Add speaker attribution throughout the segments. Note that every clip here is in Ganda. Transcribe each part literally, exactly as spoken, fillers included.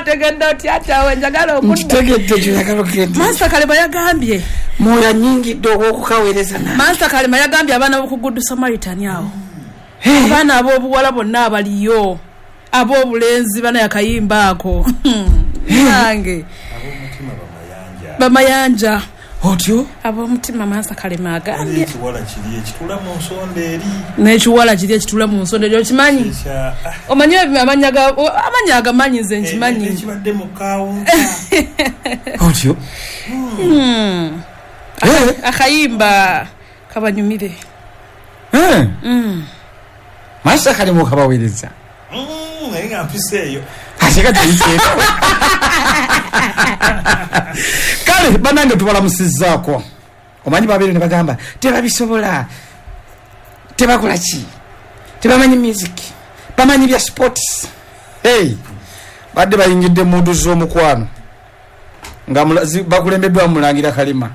Speaker 1: Otegedde otya kyawe njagala okudda?
Speaker 2: Nkitegedde ky'oyagala okugenda.
Speaker 1: Master Kalema yagambye
Speaker 2: Mwoyo annyingidde ow'okukaweereza nange.
Speaker 1: Master Kalema yagambye abaana b'oku Good Samaritan awo, abaana ab'obuwala bonna abaliyo, ab'obulenzi bana yakayimba ako nange
Speaker 3: Ab'omutima bamayanja.
Speaker 1: Bamayanja.
Speaker 2: Otyo?
Speaker 1: Ab'omutima, Master Kalema agambye.
Speaker 3: Ekiwala kiri ekitula mu nsonda eri.
Speaker 1: N'ekiwala kiri ekitula mu nsonda eri, okimanyi?
Speaker 3: Ekya
Speaker 1: Omanyi amannya ga amannya agamanyi nze nkimanyi.
Speaker 3: Ekibadde mu kawunta.
Speaker 2: Otyo?
Speaker 1: Hmm.
Speaker 2: Eh?
Speaker 1: Akayimba kabanyumire.
Speaker 2: Eh?
Speaker 1: Mm.
Speaker 2: Master Kalema okabaweereza.
Speaker 3: Mm, naye nga mpisa eyo.
Speaker 2: Ate kati oyiseeko. Kale bannange tubalamusizzaako. Omanyi babeere ne bagamba tebabisobola, tebakola ki, tebamanyi music, bamanyi bya sports. Hey, badde bayingidde mu ndu z'omukwano nga mula- zi- bakulembeddwa Mulangira Kalima.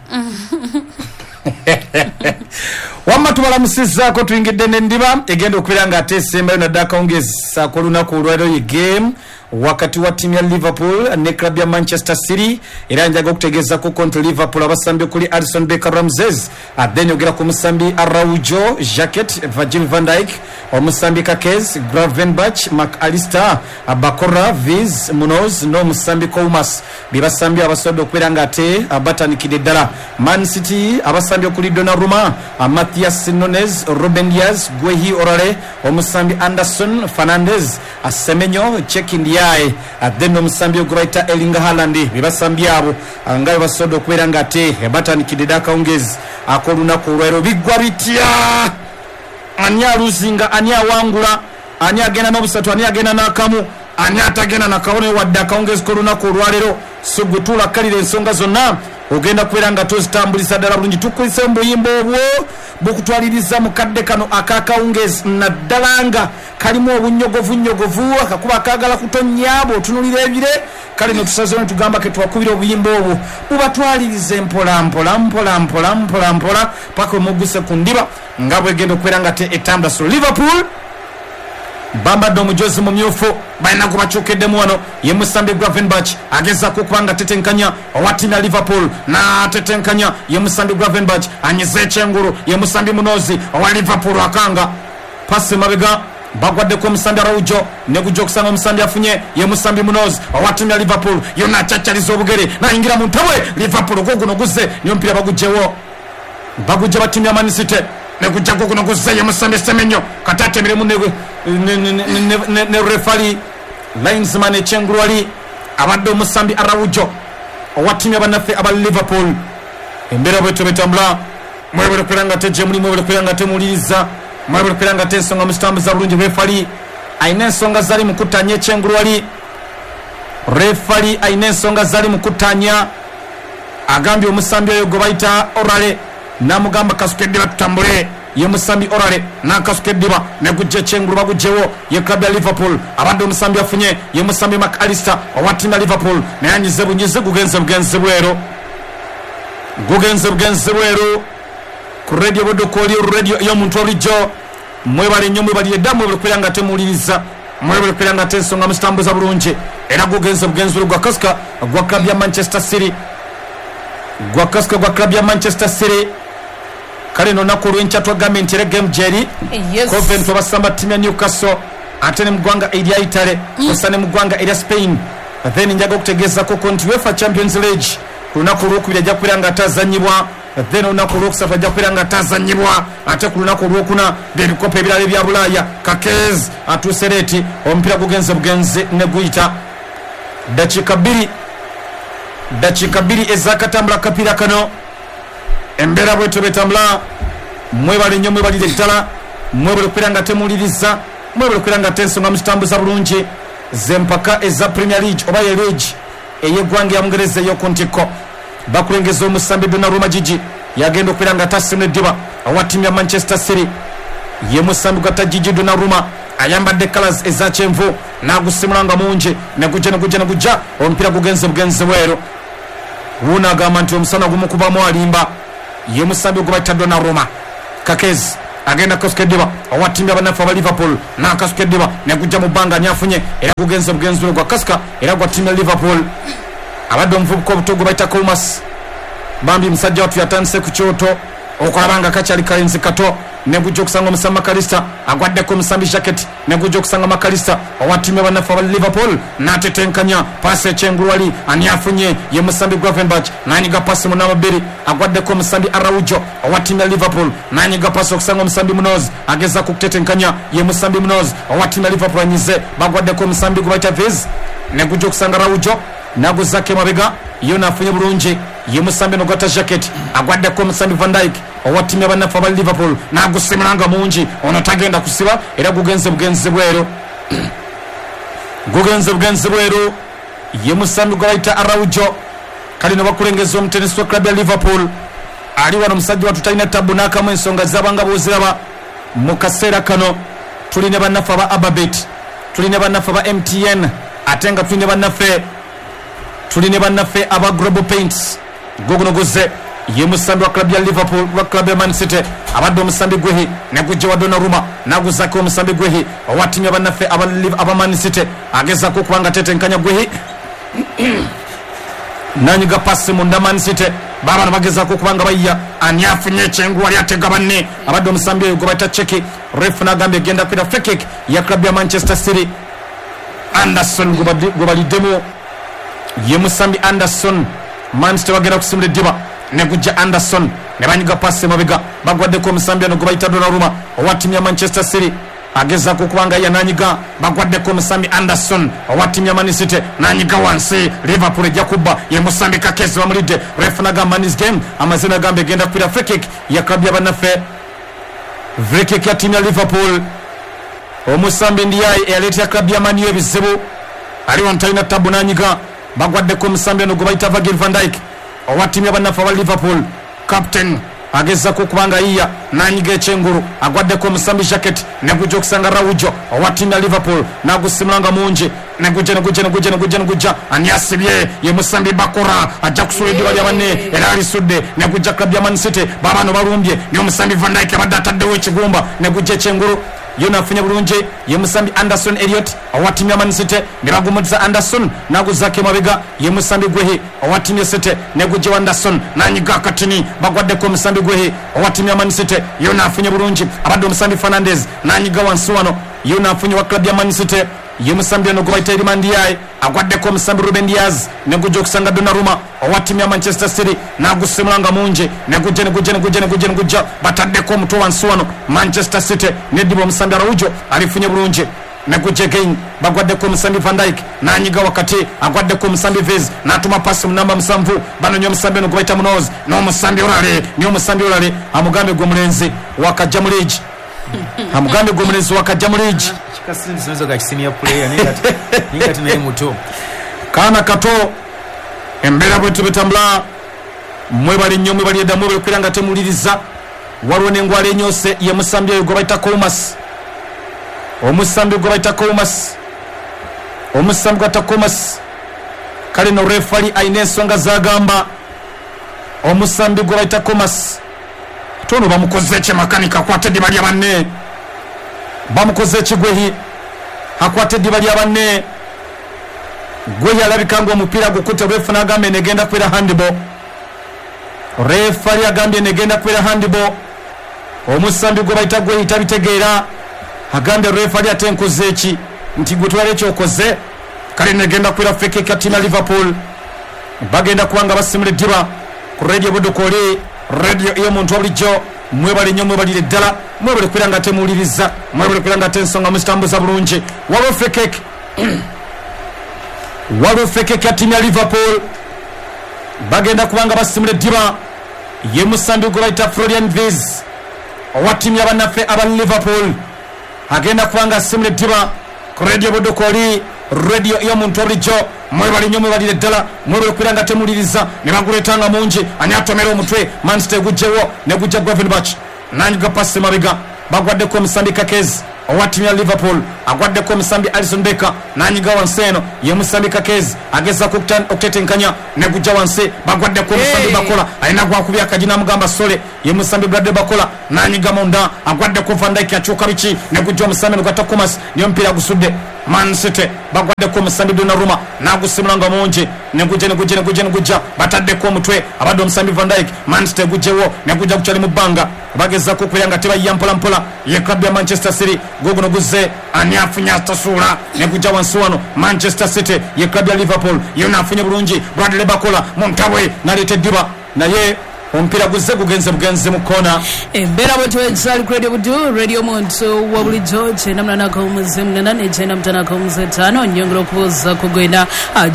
Speaker 2: Wamma tubalamusizzaako, tuyingidde n'endiba egenda okubeera nga ate esembayo naddala akawungeezi ak'olunaku olwaleero, ye game wakati wa ttiimu ya Liverpool ne club ya Manchester City. Era njaga okutegeezako nti Liverpool abasambi okuli Alison Becker, Ramses, then ogera ku musambi Araujo, Jacket, Virgil van Dijk, omusambi Kerkez, Gravenberch, Mac Allister, Bakora, Viz, Munoz n'omusambi Koumas, be basambi abasobodde okubeera nga ate batandikidde ddala. Man City abasambi okuli Donnarumma, Matheus Nunes, Ruben Dias, Guehi, Orale, omusambi Anderson Fernandez, Semenyo, Cheick Ndiaye, then omusambi ogwayita Erling Haaland, be basambi abo nga basobodde okubeera nga ate batandikidde dda akawungeezi ak'olunaku olwaleero. Biggwa bitya? Ani aluzinga? Ani awangula? Ani agenda n'obusatu? Ani agenda n'akamu? Ani atagenda nakabone wadde akawungeezi k'olunaku olwaleero? So gwe tuulakalira ensonga zonna ogenda kubeera nga tozitambulisa ddala bulungi. Tukulise mu buyimba obwo bukutwaliriza mu kadde kano akakawungeezi, naddala nga kalimu obunnyogovunyogovu, akakuba akaagala kutonnya bw'otunulira ebire. Kale ne tusazeewo ne tugamba ke twakubira obuyimba obwo bubatwalirize mpola mpola mpola mpola mpola mpola paka omuguse ku ndiba nga bwegenda okubeera nga te etambula. So Liverpool bambadde omujozi mumyufu, balina gwe bakyukiddemu wano, ye musambi Gravenberch, agezaako okuba nga tetenkanya owa ttiimu ya Liverpool, n'atetenkanya. Ye musambi Gravenberch, anyize ekyengulu, ye musambi Munoz owa Liverpool, akanga pasi mabega, bagwaddeko omusambi Araujo, ne gujja okusanga omusambi afunye, ye musambi Munoz owa ttiimu ya Liverpool. Yonna acaccaliza obugere nayingira mu ntabwe. Liverpool guguno guzze niyo omupiira bagugjewo, bagujja ba ttiimu ya Man City, ne gujja guguno guzze, ye musambi Semenyo, kati atemeremu ne, ne, ne, ne, ne, ne refali linesman ekyengulu wali abadde omusambi Araujo owa ttiimu yabannaffe aba Liverpool. Embeera bwetyo betambula. Mwebale kubeera nga tejje muli, mwebale kubeera nga temuwuliriza, mwebale kubeera nga tensonga muzitambuza bulungi. Refali alina ensonga zali mu kuttanya ekyengulu wali. Refali alina ensonga zali mu kuttanya, agambye omusambi oyo gwe bayita Orale, namugamba kasuka eddiba tutambule. Ye musambi Orale nakasuka eddiba, negujja ekyengulu, bagugjewo, ye club ya Liverpool, abadde omusambi afunye, ye musambi Mac Allister owa ttiimu ya Liverpool, naye anyize bunyize, gugenze bugenzi bweru, gugenze bugenzi bweru. Ku Radio Budukoli, radio y'omuntu obulijjo, mwebale nnyo, mwebalire dda, mwebale kubeera nga temuwuliriza, mwebale kubeera nga tensonga muzitambuza bulungi. Era gugenze bugenzi gwa kasika gwa club ya Manchester City, gwa kasika gwa club ya Manchester City. Kale nonaku olw'enkya twagambye nti era game gyeri
Speaker 1: Yes.
Speaker 2: Coventry basamba ttiimu ya Newcastle, ate ne mu ggwanga erya Italy kosa ne mu ggwanga erya Spain. Then njaga okutegeezako nti UEFA Champions League ku lunaku olwokubiri ajja kubeera nga atazanyibwa, then olunaku olwokusatu ajja kubeera nga atazanyibwa, ate ku lunaku olwokuna byebikopo ebirala ebya Bulaaya. Kerkez atuuse late, omupiira gugenze bugenzi ne guyita. Dakiika bbiri, dakiika bbiri ezakatambula akapiira kano. Embeera bwetyo betambula. Mwebale nnyo, mwebalire ddala, mwebale okubeera nga temuwuliriza, mwebale okubeera nga tensonga muzitambuza bulungi. Zempaka eza Premier League oba ye league ey'eggwanga ya Mungereza ey'oku ntikko, bakulengeza omusambi Donnarumma Gigi, yagenda okubeera nga tasimula eddiba owa ttiimu ya Manchester City. Ye musambi gwata Gigi Donnarumma, ayambadde colors eza kyenvu, n'agusimula nga mungi, negujja negujja negujja, omupiira gugenze bugenzi bweru. Wuuno agamba nti omusana gumukubamu alimba. Ye musambi gwe bayita Donnarumma. Kerkez Agenda kukasuka eddiba owa ttiimu y'abannaffe aba Liverpool, n'akasuka eddiba negujja mu bbanga nyafunye, era gugenze bugenzi gwa kasika era gwa ttiimu ya Liverpool. Abadde omuvubuka obuto gwe bayita Koumas, bambi musajja wattu yatandise ku kyoto okulaba nga kakyali kalenzi kato. Negujja okusanga omusambi Makalista, agwaddeko omusambi Jacket, negujja okusanga Makalista owa ttiimu y'abannaffe aba Liverpool, n'atetenkanya paasi ekyengulu wali ani afunye ye musambi Gravenberch, n'anyiga paasi mu namba bbiri, agwaddeko omusambi Araujo owa ttiimu ya Liverpool, n'anyiga paasi okusanga omusambi Munoz, agezaako okutetenkanya ye musambi Munoz owa ttiimu ya Liverpool, anyize bagwaddeko omusambi gwe bayita Viz, negujja okusanga Araujo naguzaako emabega yo naafunye bulungi ye musambi nogata Jacket, agwaddeko omusambi Van Dijk owa ttiimu y'abannaffe aba Liverpool, n'agusimula nga mungi, ono tagenda kusiba era gugenze bugenzi bweru, gugenze bugenzi bweru ye musambi gwe bayita Araujo. Kale no bakulengeza omutenesi wa club ya Liverpool ali wano, musajja wattu talina tabu n'akamu, ensonga zabanga bw'oziraba mu kaseera kano. Tulina bannaffe aba Ababet, tulina bannaffe aba M T N, ate nga tulina bannaffe tulina bannaffe aba Global Paints. Guguno guze ye musambi wa club ya Liverpool wa club ya Man City, abadde omusambi Gwehi negujja wa Donnarumma, naguzaako omusambi Gwehi owa ttiimu y'abannaffe aba aba Man City, agezaako okuba nga tetenkanya Gwehi nanyiga pasi munda Man City, babano bagezaako okuba nga bayiya, ani afunye ekyengu wali atega banne, abadde omusambi oyo gwe bayita Cheki. Ref n'agambye egenda kwira free kick ya club ya Manchester City. Anderson gwe baliddemu ye musambi Anderson, Man City bagenda kusimula eddiba negujja Anderson ne banyiga pasi emabega, bagwaddeko omusambi ono gwe bayita Donnarumma owa ttiimu ya Manchester City, agezaako okuba nga yananyiga, bagwaddeko omusambi Anderson owa ttiimu ya Man City, nanyiga wansi, Liverpool ejja kubba ye musambi Kakezi bamulidde. Ref n'agamba man is game, amazina agamba egenda kwira free kick ya club y'abannaffe, free kick ya ttiimu ya Liverpool. Omusambi Ndiaye eyaleetera club ya Man U ebizibu ali wano talina tabu, nanyiga, bagwaddeko omusambi ono gwe bayita Virgil van Dijk owa ttiimu y'abannaffe aba Liverpool, captain agezaako okuba nga yiya, nanyiga ekyengulu, agwaddeko omusambi Jacket, negujja okusanga Araujo owa ttiimu ya Liverpool, n'agusimula nga mungi, negujja negujja negujja negujja negujja, ani asibye ye musambi Bakora, ajja kusula eddiba lya banne era alisudde, negujja club ya Man City, baabano balumbye n'omusambi Van Dijk abadde ataddewo ekigumba, negujja ekyengulu yo nafunye bulungi ye musambi Anderson Elliot owa ttiimu ya Man City, ne bagumuliza Anderson n'aguzaako emabega ye musambi Gwehi owa ttiimu ya City, negujja Anderson nanyiga akatini, bagwaddeko omusambi Gwehi owa ttiimu ya Man City, yo nafunye bulungi abadde omusambi Fernandes nanyiga wansi wano, yo nafunye wa club ya Man City ye musambi ono gwe bayita Iliman Ndiaye, agwaddeko omusambi Ruben Diaz, negujja okusanga Donnarumma owa ttiimu ya Manchester City, n'agusimula nga mungi, negujja negujja negujja negujja negujja, bataddeko omutwe wansi wano Manchester City, neddiba omusambi Araujo alifunye bulungi, negujja again, bagwaddeko omusambi Van Dijk nanyiga wakati, agwaddeko omusambi Viz n'atuma pasi mu namba musanvu, banoonya omusambi ono gwe bayita Munoz, n'omusambi Olale, n'omusambi Olale amugambe gwe mulenzi wakajja mu liigi, amugambe gwe mulenzi wakajja mu liigi. Kaana kato embeera bwetu betambula, mwebale nnyo mwebali edda mwebale okubeera nga temuwuliriza. Waliwo n'engwala enyose ye musambi oyo gwe bayita Koumas, omusambi gwe bayita Koumas, omusambi gwe bayita Koumas. Kale no refali alina ensonga z'agamba omusambi gwe bayita Koumas, ate ono bamukoze ekyemakanika akwata eddiba lya banne, bamukoze ekigwehi akwata eddiba lya banne. Gwehi alabika nga omupiira gukutte, refu n'agambye negenda kubeera handball, refali agambye negenda kubeera handball. Omusambi gwe bayita Gwehi tabitegeera, agambye refali ate nkoze eki, nti gwe twala ekyokoze. Kale negenda kubeera free kick ya ttiimu ya Liverpool, bagenda kuba nga basimula eddiba ku radio Budukoli, radio ey'omuntu wa bulijjo. Mwebale nnyo mwebalire ddala, mwebale kubeera nga temuwuliriza, mwebale kubeera nga ate ensonga muzitambuza bulungi. Waliwo free kick, waliwo free kick ya ttiimu ya Liverpool, bagenda kuba nga basimula eddiba ye musambi gwe bayita Florian Wirtz owa ttiimu y'abannaffe aba Liverpool, agenda kuba nga asimula eddiba ku radio Budukoli, radio ey'omuntu wa bulijjo. Mwebale nnyo mwebalire ddala, mwebale kubeera nga temuwuliriza, ne baguleeta nga mungi, ani atomera omutwe Man City egugjewo, negujja Gravenberch nanyiga pasi mabega, bagwaddeko omusambi Kakezi owa ttiimu ya Liverpool agwaddeko omusambi Alisson Becker nanyiga wansi eno ye musambi Kakezi agezaako okutetenkanya negujja wansi bagwaddeko omusambi
Speaker 1: Hey.
Speaker 2: Bakola alina gwakubya akaji namugamba sole ye musambi Bradley Bakola nanyiga munda agwaddeko Van Dijk akyuka biki negujja omusambi nogata Thomas niyo omupiira gusudde Man City bagwaddeko omusambi Donnarumma nagusimula nga mungi negujja negujja negujja negujja bataddeko omutwe abadde omusambi Van Dijk. Man City egugjewo negujja gukyali mu bbanga bagezaako okubeera nga tebayiya mpola mpola ye club ya Manchester City guguno guzze ani afunye atasuula negujja wansi wano Manchester City ye club ya Liverpool yona afunye bulungi Bradley Bakola muntabwe naleeta eddiba naye omupiira guzze gugenze bugenzi mu kkoona.
Speaker 1: Embeera bwetwezali ku Radio Budu, radio omuntu wa bulijjo kyenda munana akawumuze munana ne kyenda mutano akawumuze ttaano. Nyongera okubuuza kugenda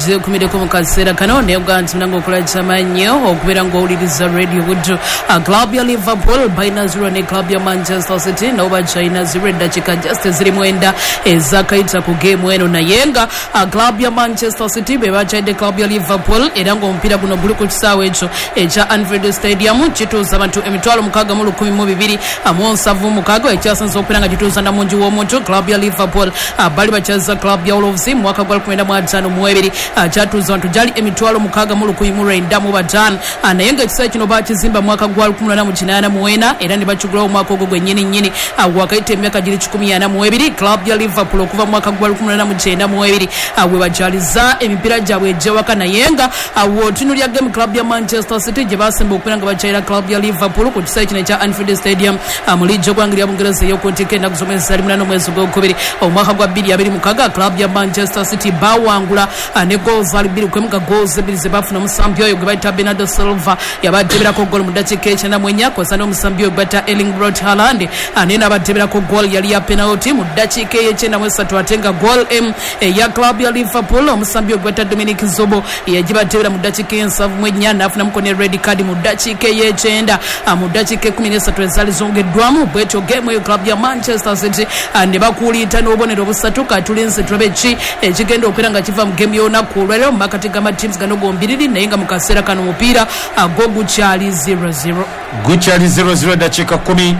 Speaker 1: gyekumireko mu kaseera kano naye oga nti munange okola kyamannyo okubeera ng'owuliriza Radio Budu. Ah, club ya Liverpool balina zero ne club ya Manchester City nabo bakyalina zero eddakiika just eziri mwenda ezakayita ku geemu eno naye nga ah, club ya Manchester City be bakyalidde club ya Liverpool era ng'omupiira guno guli ku kisaawe ekyo ekya Anfield Stadium kituuza abantu emitwalo mukaaga mu lukumi mu bibiri mu nsanvu mukaaga ekyasinze okubeera nga kituuza namungi w'omuntu. Club ya Liverpool ah, bali bakyaza club ya Wolves mu mwaka gwa lukumi mu ataano mu ebiri ah, kyatuuza abantu gyali emitwalo mukaaga mu lukumi mu lwenda mu bataano. Ah, naye ng'ekisaawe kino bakizimba mu mwaka gwa lukumi mu kinaana mu ena era ne bakigulawo omwaka ogwo gwennyini nnyini. Ah, wakayita emyaka giri kikumi ana mu ebiri club ya Liverpool okuva mu mwaka gwa lukumi mu kyenda mu ebiri ah, we bakyaliza emipiira gyabwe egy'ewaka naye nga ah, w'otunuulira game club ya Manchester City gye basemba okubeera nga bakyalira club ya Liverpool ku kisaawe kino ekya Anfield Stadium ah, mu liigi y'eggwanga lya Bungereza ey'okuntikko ennaku z'omwezi ali munaana omwezi ogwokubiri omwaka gwa bbiri abiri mukaaga club ya Manchester City bawangula ah, ne goals ali bbiri kwemu nga goals ebbiri ze baafuna omusambi oyo gwe bayita Bernardo Silva yabateberako goal mu ddakiika ekyenda mu ennya kw'ossa n'omusambi oyo gwe bayita Erling Braut Haaland ah, naye n'abateberako goal yali ya penalty mu ddakiika ey'ekyenda mu esatu ate nga goal emu eya club ya Liverpool omusambi oyo gwe bayita Dominic Zobo yagibatebera mu ddakiika ey'ensanvu mu ennya n'afunamuko ne red card mu ddakiika ey'ekyenda ah, mu ddakiika ekkumi n'esatu ezaali zongeddwamu. Bwetyo game eyo club ya Manchester City ah, ne bakuuliita n'obubonero busatu. Katulinze tulabe ki ekigenda okubeera nga kiva mu game y'olunaku olwaleero mu makati g'amatiimu gano gombiriri naye nga mu kaseera kano omupiira ah, gwo gukyali zero zero.
Speaker 2: Gukyali zero zero eddakiika kkumi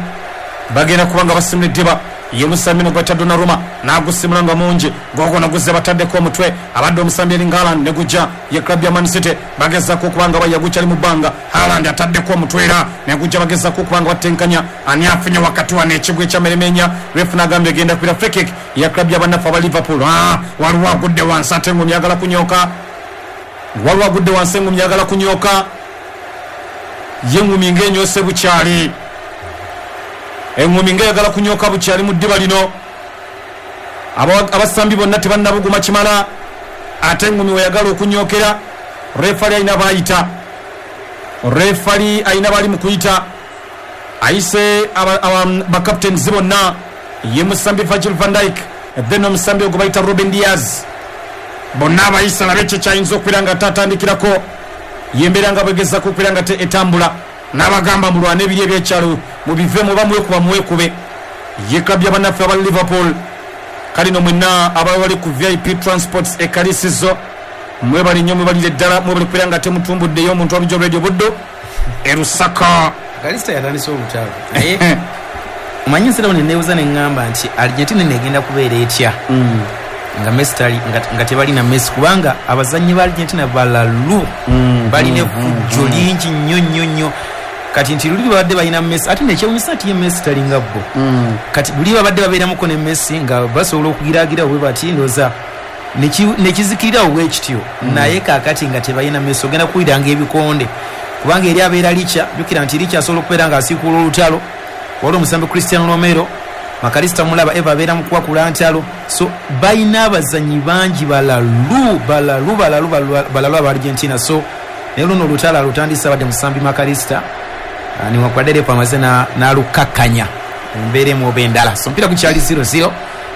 Speaker 2: bagenda kuba nga basimula eddiba ye musambi nogwata Donnarumma n'agusimula nga mungi gogono guzze bataddeko omutwe abadde omusambi Erling Haaland ne gujja ye club ya Man City bagezaako okuba nga baya gukyali mu bbanga Haaland ataddeko omutwe era ne gujja bagezaako okuba nga batenkanya ani afunye wakati wano ekigwa ekyameremenya ref n'agambye egenda kubira free kick ya club ya bannaffe aba Liverpool. Ah, waliwo agudde wansi ate engumi yagala kunyooka waliwo agudde wansi engumi yagala kunyooka ye engumi ng'enyoose bukyali engumi ng'eyagala kunyooka bukyali mu ddiba lino. Aba- abasambi bonna tebannabuguma kimala ate engumi weyagala okunyookera refali alina baayita refali alina bali mu kuyita ayise aba- aba- bacaptains bonna ye musambi Virgil van Dijk then omusambi ogwo bayita Ruben Diaz bonna abayisa labe ekyo kyayinza okubeera nga tatandikirako yembeera nga bwegezako okubeera nga te- etambula n'abagamba mulwane ebiri ebyekyalo mubivemu oba mwekuba mwekube ye club y'abannaffe aba Liverpool kale no mwenna ababa bali ku V I P Transports ekalisizo mwebali nnyo mwebalire ddala mwebali kubeera nga temutumbuddeyo omuntu wabulijjo Radio Buddu e Lusaka.
Speaker 4: Kalista yatandise olutalo naye omanyi nsirawo neneebuuza neŋŋamba nti Argentina negenda kubeera etya nga Messi tali nga, nga tebalina Messi kubanga abazannyi ba Argentina balalu balina effujjo lingi nnyo nnyo nnyo kati nti luli babadde balina Messi ate nekyewunyisa nti ye Messi talinga bo kati luli babadde babeeramuko ne Messi nga basobola okugiraagira bwe bati ndowooza nekizikirirawo bwe kityo naye kaakati nga tebalina Messi ogenda kuwuliranga ebikonde kubanga eri abeera Licha jjukira nti Licha asobola okubeera ng'asiikuula olutalo waliwo omusambi Cristiano Romero Makalista mulaba Eva abeera mu kuwakula ntalo so balina abazannyi bangi balalu balalu balalu balalu aba Argentina so naye luno olutalo alutandise abadde musambi Makalista newankubadde refa amaze n'alukakkanya mu mbeera emu oba endala so omupiira gukyali zero zero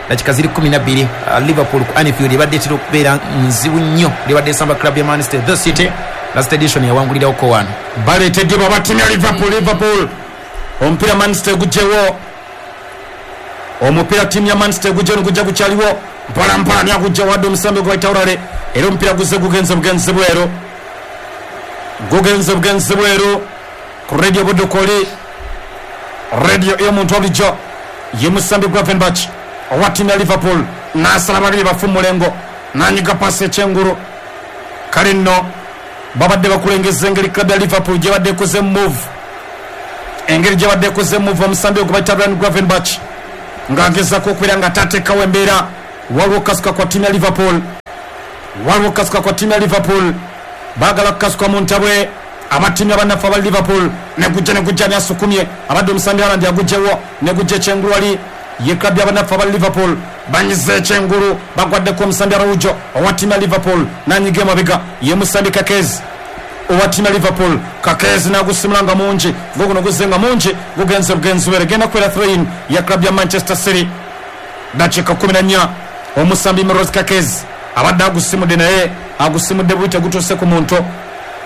Speaker 4: dakika ziri kumi na bbiri Liverpool ku Anfield ebadde etera okubeera nzibu nnyo libadde esamba club ya Manchester the City last edition yawangulirako wano
Speaker 2: baleetedde babatimya Liverpool Liverpool omupiira Manchester gugyewo omupiira ttiimu ya Manchester gugyewo negujja gukyaliwo mpola mpola ani agujja wadde omusambi gwe bayita Urale era omupiira guzze gugenze bugenzi bweru gugenze bugenzi bweru ku Radio Buddu koli radio ey'omuntu wabulijjo ye musambi Gravenberch Owa ttiimu ya Liverpool n'asala babiri bafu mulengo n'anyiga pasi ekyengulu. Kale nno babadde bakulengeza engeri club ya Liverpool gyebadde ekoze move, engeri gyebadde ekoze move omusambi ogwo bayita Ryan Gravenberch ng'agezaako okubeera nga tateekawo embeera. Waliwo okukasuka kwa ttiimu ya Liverpool, waliwo okukasuka kwa ttiimu ya Liverpool, baagala kukasuka mu ntabwe abattiimu abannaffe aba Liverpool. Negujja negujja ani asukumye abadde omusambi Haaland agugyewo negujja ekyengulu wali ye club y'abannaffe aba Liverpool banyize ekyengulu bagwaddeko omusambi Araujo owa ttiimu ya Liverpool n'anyiga emabega ye musambi Kakezi owa ttiimu ya Liverpool. Kakezi n'agusimula nga mungi, guguno guzze nga mungi gugenze bugenzi were genda kubeera throw-in ya club ya Manchester City. Dakiika kumi na nnya omusambi Miros Kakezi abadde agusimudde naye agusimudde bubi tegutuuse ku muntu.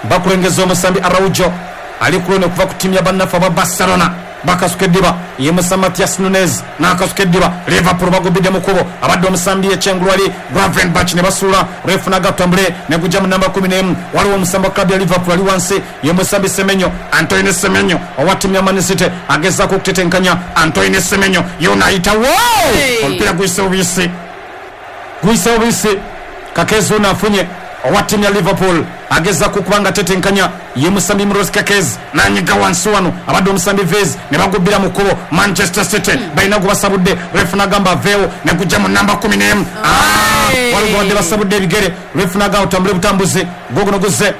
Speaker 2: Bakulengeza omusambi Araujo ali kulone okuva ku ttiimu ya bannaffe aba Barcelona bakasuka eddiba ye musambi Matias Nunes n'akasuka eddiba. Liverpool bagubidde mu kkubo abadde omusambi ekyengulu wali Gravenberch ne basuula refu n'agatambule ne gujja mu namba kumi n'emu. Waliwo omusambi wa club ya Liverpool ali wansi ye musambi Semenyo, Antoine Semenyo owa ttiimu ya Man City agezaako okutetenkanya Antoine Semenyo yona ayitawo omupiira guyise bubisi, guyise bubisi. Kakezi ono afunye owa ttiimu ya Liverpool agezaako okuba nga atetenkanya ye musambi Miros Kakezi n'anyiga wansi wano abadde omusambi Vez ne bagubbira mu kkubo. Manchester City balina gwe basabudde, refu n'agamba aveewo ne gujja mu namba kumi n'emu. Waliwo gwe badde basabudde ebigere, refu n'agamba otambule butambuzi guguno guzze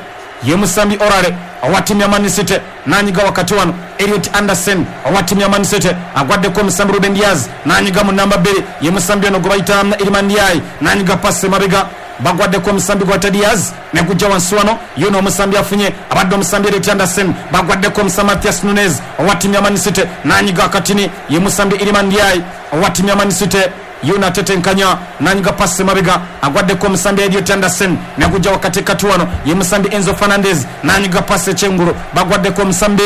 Speaker 2: ye musambi Orale owa ttiimu ya Man City n'anyiga wakati wano Elliot Anderson owa ttiimu ya Man City agwaddeko omusambi Ruben Dias n'anyiga mu namba bbiri ye musambi ono gwe bayita Iliman Ndiaye n'anyiga pasi emabega bagwaddeko omusambi gwa Diaz ne gujja wansi wano yono omusambi afunye abadde omusambi Elliot Anderson bagwaddeko omusambi Matias Nunes owa ttiimu ya Man City n'anyiga akatini ye musambi Iliman Ndiaye owa ttiimu ya Man City yona atetenkanya n'anyiga pasi emabega agwaddeko omusambi Elliot Anderson ne gujja wakatikati wano ye musambi Enzo Fernandez n'anyiga pasi ekyengulu bagwaddeko omusambi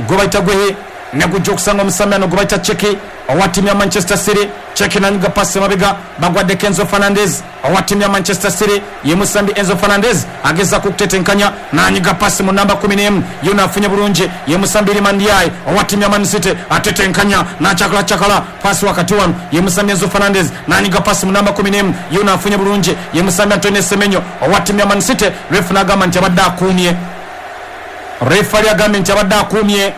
Speaker 2: gwe bayita Gwehe ne gujja okusanga omusambi ano gwe bayita Cheki owa ttiimu ya Manchester City. Cheki n'anyiga pasi emabega bagwaddeko Enzo Fernandez owa ttiimu ya Manchester City ye musambi Enzo Fernandez agezaako okutetenkanya n'anyiga pasi mu namba kumi n'emu yona afunye bulungi ye musambi Iliman Ndiaye owa ttiimu ya Man City atetenkanya n'acakalacakala pasi wakati wano ye musambi Enzo Fernandez n'anyiga pasi mu namba kumi n'emu yona afunye bulungi ye musambi Antoine Semenyo owa ttiimu ya Man City. Refu n'agamba nti abadde akuumye, refu ali agambye nti abadde akuumye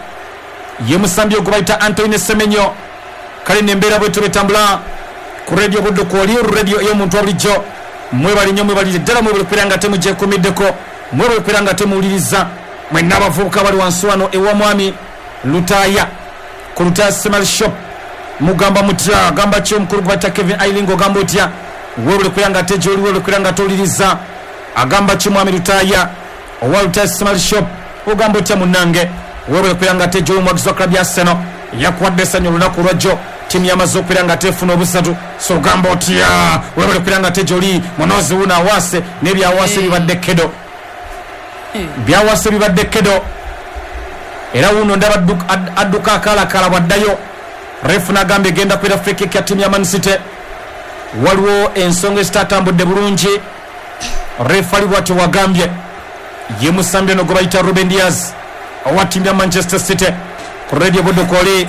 Speaker 2: ye musambi ogwe bayita Antoine Semenyo. Kale nembeera bwetyo bwetambula ku radio Buddu kwoli radio ey'omuntu wa bulijjo. Mwebali nnyo mwebalire ddala mwebale okubeera nga temugyekuumiddeko, mwebale okubeera nga temuwuliriza. Mwenna abavubuka bali wansi wano ewa mwami Lutaaya ku Lutaaya Small Shop mugamba mutya? Agamba ki omukulu gwe bayita Kevin Ailing ogamba otya? Weebale okubeera nga ate gy'oli, weebale okubeera nga towuliriza. Agamba ki mwami Lutaaya owa Lutaaya Small Shop ogamba otya munnange? Weebale okubeera nga ate gy'oli omuwagizi wa club ya Arsenal yakuwadde essanyu olunaku olwajjo ttiimu yamaze okubeera nga tefuna obusatu, so ogamba otya? Weebale okubeera nga ate gy'oli munozi wuno awaase n'ebyawaase bibadde kedo, byawaase bibadde kedo. Era wuno ndaba adduka akaalakaala bwaddayo. Refu n'agamba egenda kubeera free kick ya ttiimu ya Man City. Waliwo ensonga ezitatambudde bulungi, refu ali bw'atyo wagambye ye musambi ono gwe bayita Ruben Dias owa ttiimu ya Manchester City ku radio Buddu kwoli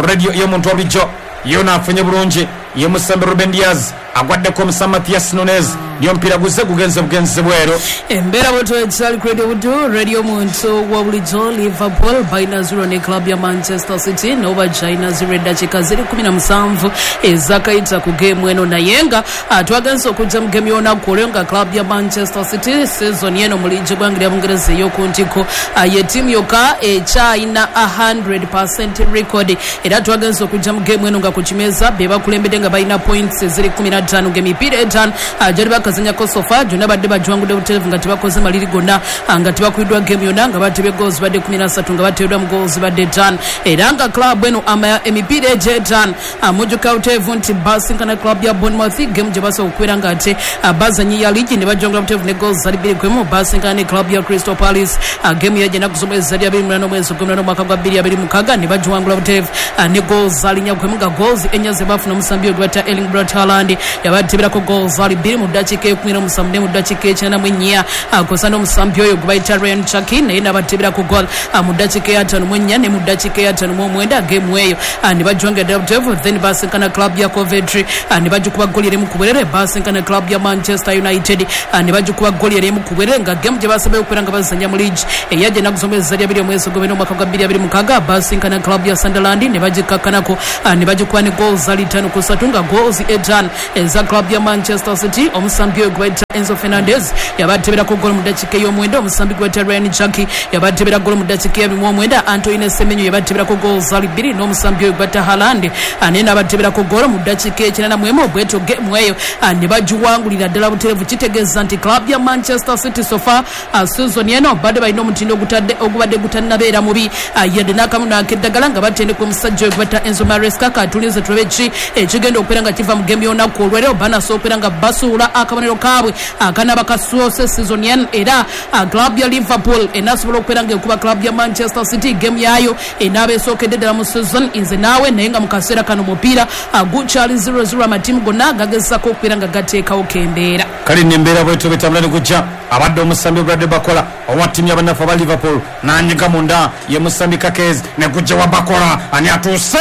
Speaker 2: radio ey'omuntu wa bulijjo yona afunye bulungi ye musambi Ruben Dias agwaddeko omusambi Matias Nunes niyo omupiira guzze gugenze bugenzi bweru.
Speaker 1: Embeera bwetyo ekyali ku Radio Buddu radio omuntu wa bulijjo. Liverpool balina zero ne club ya Manchester City nabo bagyalina zero eddakiika ziri kumi na musanvu ezakayita ku geemu eno, naye nga twagenze okujja mu geemu y'olunaku olwo nga club ya Manchester City season eno mu liigi eggwanga lya Bungereza ey'oku ntikko ye ttiimu yokka ekyalina one hundred percent record. Era twagenze okujja mu geemu eno nga ku kimeeza be bakulembedde nga balina points eziri kumi na ttaano ng'emipiira etaano gyali bakazanyako so far gyonna badde bagiwangudde butereevu nga tebakoze maliri gonna, nga tebakubiddwa geemu yonna, nga batebye goals badde kumi na ssatu nga bateereddwa mu goals badde ttaano. Era nga club eno emipiira egyo etaano mujjuka butereevu nti basinkana club ya Bournemouth geemu gye basooka okubeera nga ate bazanyi ya liigi ne bajongera butereevu ne goals zali bbiri ku emu. Basinkana ne club ya Crystal Palace geemu yajja ennaku z'omwezi zali abiri munaana omwezi ogw'omunaana omwaka gwa bbiri abiri mukaaga ne bagiwangula butereevu ne goals zali nnya ku emu, nga goals ennya ze baafuna omusambi ogwe bayita Erling Braut Haaland Yabateberako goals ali bbiri mu ddakiika ekumi n'omusanvu ne mu ddakiika ekyenda mu ennya, akosa n'omusambi oyo gwe bayita Ryan Cherki naye n'abateberako goal mu ddakiika eyataano mu ennya ne mu ddakiika eyataano mu omwenda. Game eyo ne bajwanga ddala, then basinkana club ya Coventry ne bagikuba goli erimu ku bwerere. Basinkana club ya Manchester United ne bagikuba goli erimu ku bwerere, nga game gye basembayo okubeera nga bazannya mu league eyajja ennaku z'omwezi zali abiri omwezi ogw'ebiri omwaka gwa bbiri abiri mukaaga. Basinkana club ya Sunderland ne bagikakkanako ne bagikuba ne goals zali ttaano ku ssatu, nga goals etaano eza club ya Manchester City. Omusambi oyo gwe bayita Enzo Fernandez yabateberako golo mu ddakiika ey'omwenda. Omusambi gwe bayita Ryan Cherki yabatebera golo mu ddakiika ey'abiri mu omwenda. Antoine Semenyo yabateberako goals zali bbiri, n'omusambi oyo gwe bayita Haaland naye n'abateberako golo mu ddakiika ekyenda mu emu. Bwetyo game eyo ne bagiwangulira ddala butereevu. Kitegeeza nti club ya Manchester City so far season eno badde balina omutindo ogubadde gutannabeera mubi yadde n'akamu n'akeddagala, nga batendeka omusajja oyo gwe bayita Enzo Maresca. Katulinze tulabe ki ekigenda okubeera nga kiva mu game y'olunaku olwaleero. Banasobola okubeera nga basuula akabonero kaabwe akanaba kasoose season eno, era club ya Liverpool enasobola okubeera nga ekuba club ya Manchester City game yaayo enaaba esookedde ddala mu season. Nze naawe naye nga mu kaseera kano omupiira gukyali zero zero, amatiimu gonna gagezaako okubeera nga gateekawo kembeera.
Speaker 2: Kale nembeera bwetyo betambula ne gujja. Abadde omusambi Bradley Bakola owa ttiimu y'abannaffe aba Liverpool n'anyiga munda ye musambi Kakezi ne gujja wa Bakola ani atuuse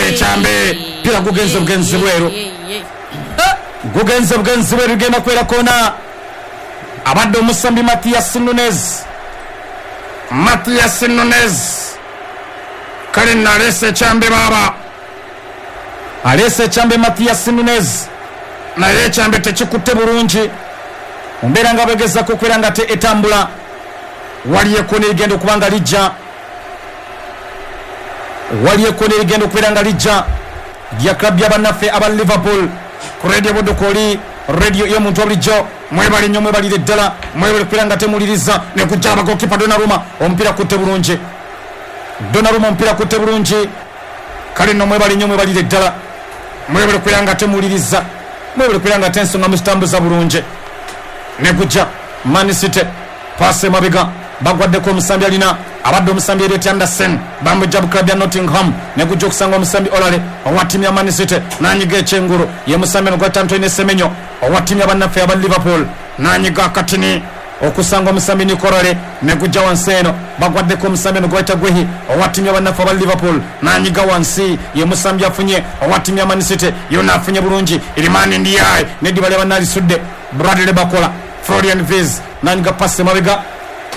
Speaker 2: ekyambe pira gugenze bugenzi bweru, gugenze bugenzi bweru, genda kwera kona. Abadde omusambi Matthias Nunes, Matthias Nunes kale naleese ekyambe baaba, aleese ekyambe Matthias Nunes, naye ekyambe tekikutte bulungi. Mbeera nga bagezako okubeera nga te etambula. Waliyo ekkona erigenda okuba nga lijja, waliyo ekkona erigenda okubeera nga lijja lya club y'abannaffe aba Liverpool. Ku Radio Budukoli, radio y'omuntu obulijjo, mwebale nnyo, mwebalire ddala, mwebale kubeera nga temuliriza. Ne kujja abagokipa Donnarumma, omupiira kutte bulungi. Donnarumma omupiira kutte bulungi. Kale nno mwebale nnyo, mwebalire ddala, mwebale kubeera nga temuliriza, mwebale kubeera nga tensonga muzitambuza bulungi. Ne kujja Man City, passe mabega, bagwaddeko omusambi alina abadde omusambi Elliot Anderson, bamujja mu club ya Nottingham. Ne kujja okusanga omusambi Olale owa ttiimu ya Man City n'anyiga ekyengulu, ye musambi ono gwayita Antoine Semenyo owa ttiimu y'abannaffe aba Liverpool n'anyiga akatini okusanga omusambi Nico Olale. Ne gujja wansi eno, bagwaddeko omusambi ono gwayita Guehi owa ttiimu y'abannaffe aba Liverpool n'anyiga wansi, ye musambi afunye owa ttiimu ya Man City, yonna afunye bulungi Iliman Ndiaye n'eddiba ly'abannalisudde Bradley Bakola. Florian Wirtz n'anyiga pasi mabega,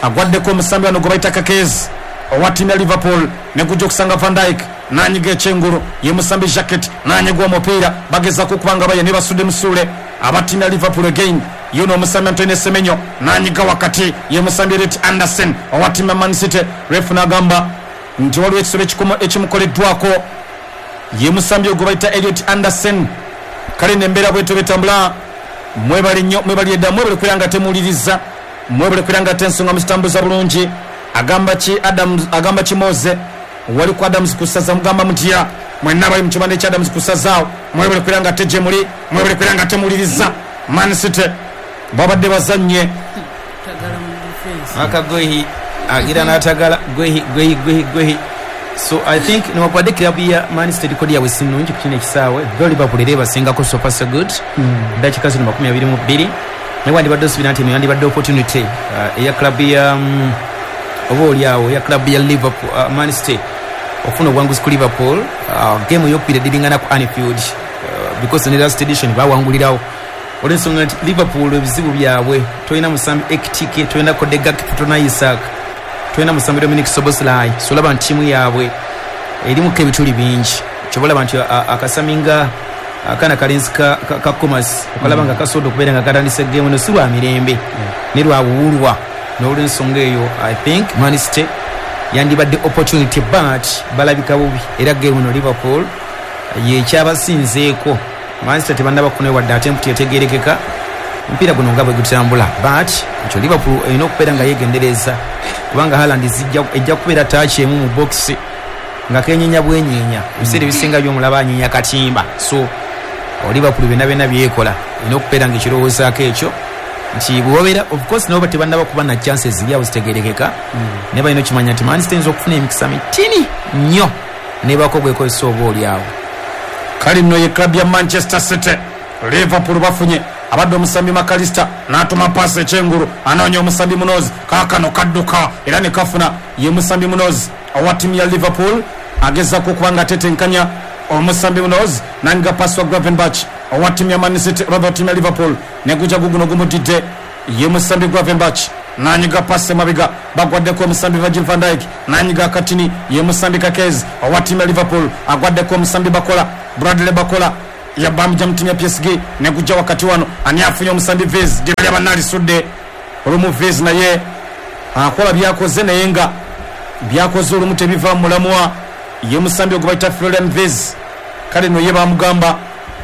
Speaker 2: agwaddeko omusambi wano gwe bayita Kakezi owa ttiimu ya Liverpool. Ne gujja okusanga Van Dijk n'anyiga ekyengulu, ye musambi Jacquet n'anyiga omupiira, bagezaako okuba nga baye ne basudde musuule aba ttiimu ya Liverpool again. Yuno omusambi Antoine Semenyo n'anyiga wakati, ye musambi Elliot Anderson owa ttiimu ya Man City. Ref n'agamba nti waliwo ekisolo ekimukoleddwako, ye musambi ogwe bayita Elliot Anderson. Kale nembeera bwetyo betambula. Mwebale nnyo, mwebalire ddala, mwebale kubeera nga temuliriza, mwebale kubeera nga tensonga muzitambuza bulungi. Agamba ki Adams, agamba ki Moze wali ku Adams kusaza, mugamba mutya mwenna bali mu kibanda ekya Adams kusazaawo. Mwebale kubeera nga tegye muli, mwebale kubeera nga temuliriza. Man City babadde bazannye
Speaker 4: aka Guehi agira n'atagala Guehi Guehi Guehi Guehi. So I think newankubadde club ya Man City kodi yaabwe si nnungi ku kino ekisaawe, though Liverpool era ebasingako so far so good. Ddakiika zino makumi abiri mu bbiri, naye wandibadde osuubira nti eno yandibadde opportunity uh, eya club ya um, oba oliawo eya club ya Liverpool, uh, Man City okufuna obuwanguzi ku Liverpool. uh, game eyokubiri ediringana ku Anfield, uh, because ne last edition bawangulirawo olw'ensonga nti Liverpool ebizibu byabwe tolina musambi Ekitike, tolina Cody Gakpo, tolina Isak, tolina musambi Dominic Szoboszlai. So olaba nti ttiimu yaabwe erimuko ebituli bingi. Kyoba olaba nti akasami nga akaana kalenzi ka, ka, ka Comas okalaba nga kasobodde okubeera nga katandise game eno si lwa mirembe ne lwa buwulwa. N'olwensonga eyo I think Man City yandibadde opportunity, but balabika bubi era game eno Liverpool yekyabasinzeeko. Man City tebannaba kufunayo wadde attempt etegeerekeka, omupiira guno nga bwe gutambula, but ekyo Liverpool erina okubeera nga yeegendereza kubanga Haaland ejja kubeera touch emu mu box nga kenyenya bwenyenya. Ebiseera ebisinga byomulaba anyenya katimba. So Liverpool byonna byonna byekola erina okubeera nga ekirowoozaako ekyo nti bwebabeera of course nabo tebannaba kuba na chances ziri awo zitegeerekeka, naye balina okimanya nti Man City eyinza okufuna emikisa mitini nnyo nebaako bwekozesa oba oli awo.
Speaker 2: Kale nno ye club ya Manchester City Liverpool bafunye abadde omusambi Makalista n'atuma paasi ekyengulu, anoonya omusambi Munoz, kaakano kadduka era ne kafuna. Ye musambi Munoz owa ttiimu ya Liverpool agezaako okuba nga atetenkanya omusambi Munoz, nanyiga paasi wa Gravenberch owa ttiimu ya Man City, oba ttiimu ya Liverpool, neguja guguno gumudidde. Ye musambi Gravenberch nanyiga paasi emabega, bagwaddeko omusambi Virgil van Dijk, nanyiga akatini. Ye musambi Kakez owa ttiimu ya Liverpool agwaddeko omusambi Bakola, Bradley Bakola yabamja mu ttiimu ya P S G, negujja wakati wano ani afunye omusambi Vez dibali abanalisudde olumu. Vez naye akola byakoze naye nga byakoze olumu tebiva mu mulamwa. Ye musambi ogwo bayita Florian Vez, kale no ye bamugamba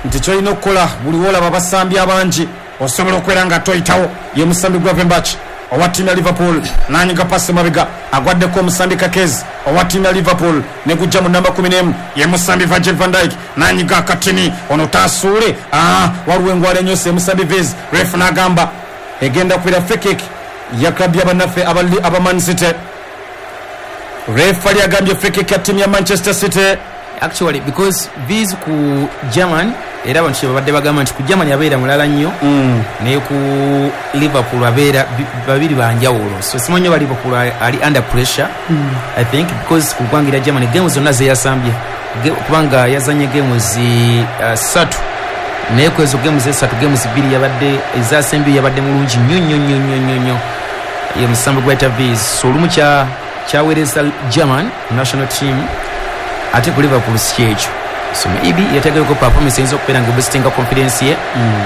Speaker 2: nti kyolina okukola buli wolaba abasambi abangi osobola okubeera nga toyitawo. Ye musambi Gravenberch owa ttiimu ya Liverpool nanyiga pasi mabega, agwaddeko omusambi Kakez owa ttiimu ya Liverpool, negujja mu namba kumi n'emu. Ye musambi Virgil van Dijk nanyiga akatini, ono tasuule, ah, waliwo engwala enyose. Musambi Vez, ref n'agamba egenda kubeera free kick ya club y'abannaffe aba Man City. Ref ali agambye free kick ya ttiimu ya Manchester City.
Speaker 4: Actually because Vez ku German era abantu kyebabadde bagamba nti ku Germany abeera mulala nnyo, mm. naye ku Liverpool abeera babiri banjawulo. So simanyi oba Liverpool ali under pressure, mm. I think because ku ggwanga lya Germany games zonna ze yasambye, kubanga yazanye games uh, ssatu, naye ku ezo games esatu games bbiri yabadde ezasembye yabadde mulungi nnyo nnyo nnyo nnyo nnyo. Ye musambi gwayita Vez. So olumu kya kyaweereza German national team, ate ku Liverpool si kyekyo. So maybe yategereko performance eyinza okubeera nga boostinga confidence ye,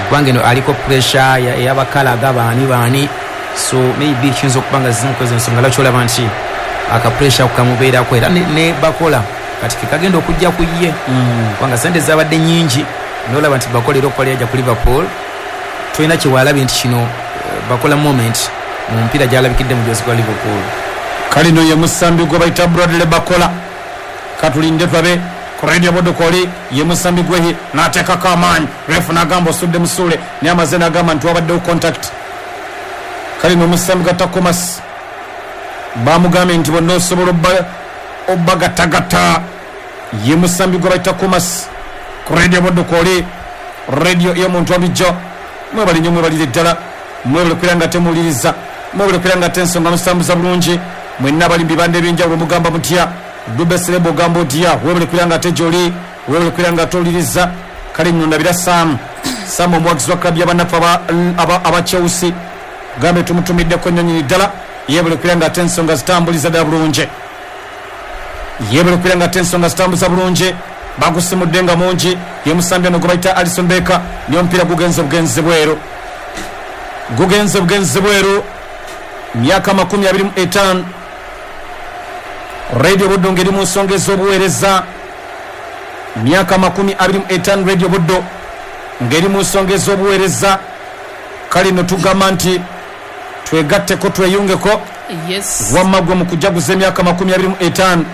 Speaker 4: kubanga eno aliko pressure ey'abakalaga baani baani. So maybe kiyinza okuba nga zimu kwezo ensonga lwaki olaba nti aka pressure kamubeerako era ne, ne Bakola kati kekagenda okujja ku ye, kubanga sente zabadde nnyingi n'olaba nti Bakola era okukola yajja ku Liverpool tolina kye waalabye nti kino Bakola moment mu mupiira gy'alabikidde mu gyozi gwa Liverpool.
Speaker 2: Kale no ye musambi gwe bayita Bradley Bakola, katulinde tulabe ku Radio Bodokoli. Ye musambi gwehi n'ateekako amaanyi, ref n'agamba osudde musuule, naye amaze n'agamba nti wabaddewo contact. Kale no omusambi Gatakomas bamugambye nti bonna osobola obbagattagatta. Ye musambi gwe bayita Komas ku Radio Bodokoli, radio y'omuntu wabijjo. Mwebale nnyo, mwebalire ddala, mwebale kubeera nga temuwuliriza, mwebale kubeera nga tensonga musambuza bulungi. Mwenna abali mu bibanda ebyenjawulo mugamba mutya? Dube Selebo ogamba otya? Webale kubeera nga tegyoli, webale kubeera nga towuliriza. Kale nno ndabira Sam Sam omuwagizi wa club y'abannaffe aba Chelsea, gambe tumutumiddeko nnyo nnyini ddala. Yebale kubeera nga ate ensonga zitambuliza ddala bulungi, yebale kubeera nga ate ensonga zitambuza bulungi. Bagusimudde nga mungi. Ye musambi ono gwe bayita Alisson Becker, niyo omupiira gugenze bugenzi bweru, gugenze bugenzi bweru. Myaka makumi abiri mu etaano. Radio Buddo ng'eri mu nsonga ez'obuweereza. Myaka makumi abiri mu etaano Radio Buddo ng'eri mu nsonga ez'obuweereza. Kale nno tugamba nti twegatteko tweyungeko.
Speaker 1: Yes.
Speaker 2: Wamma gwe mu kujaguza emyaka makumi abiri mu etaano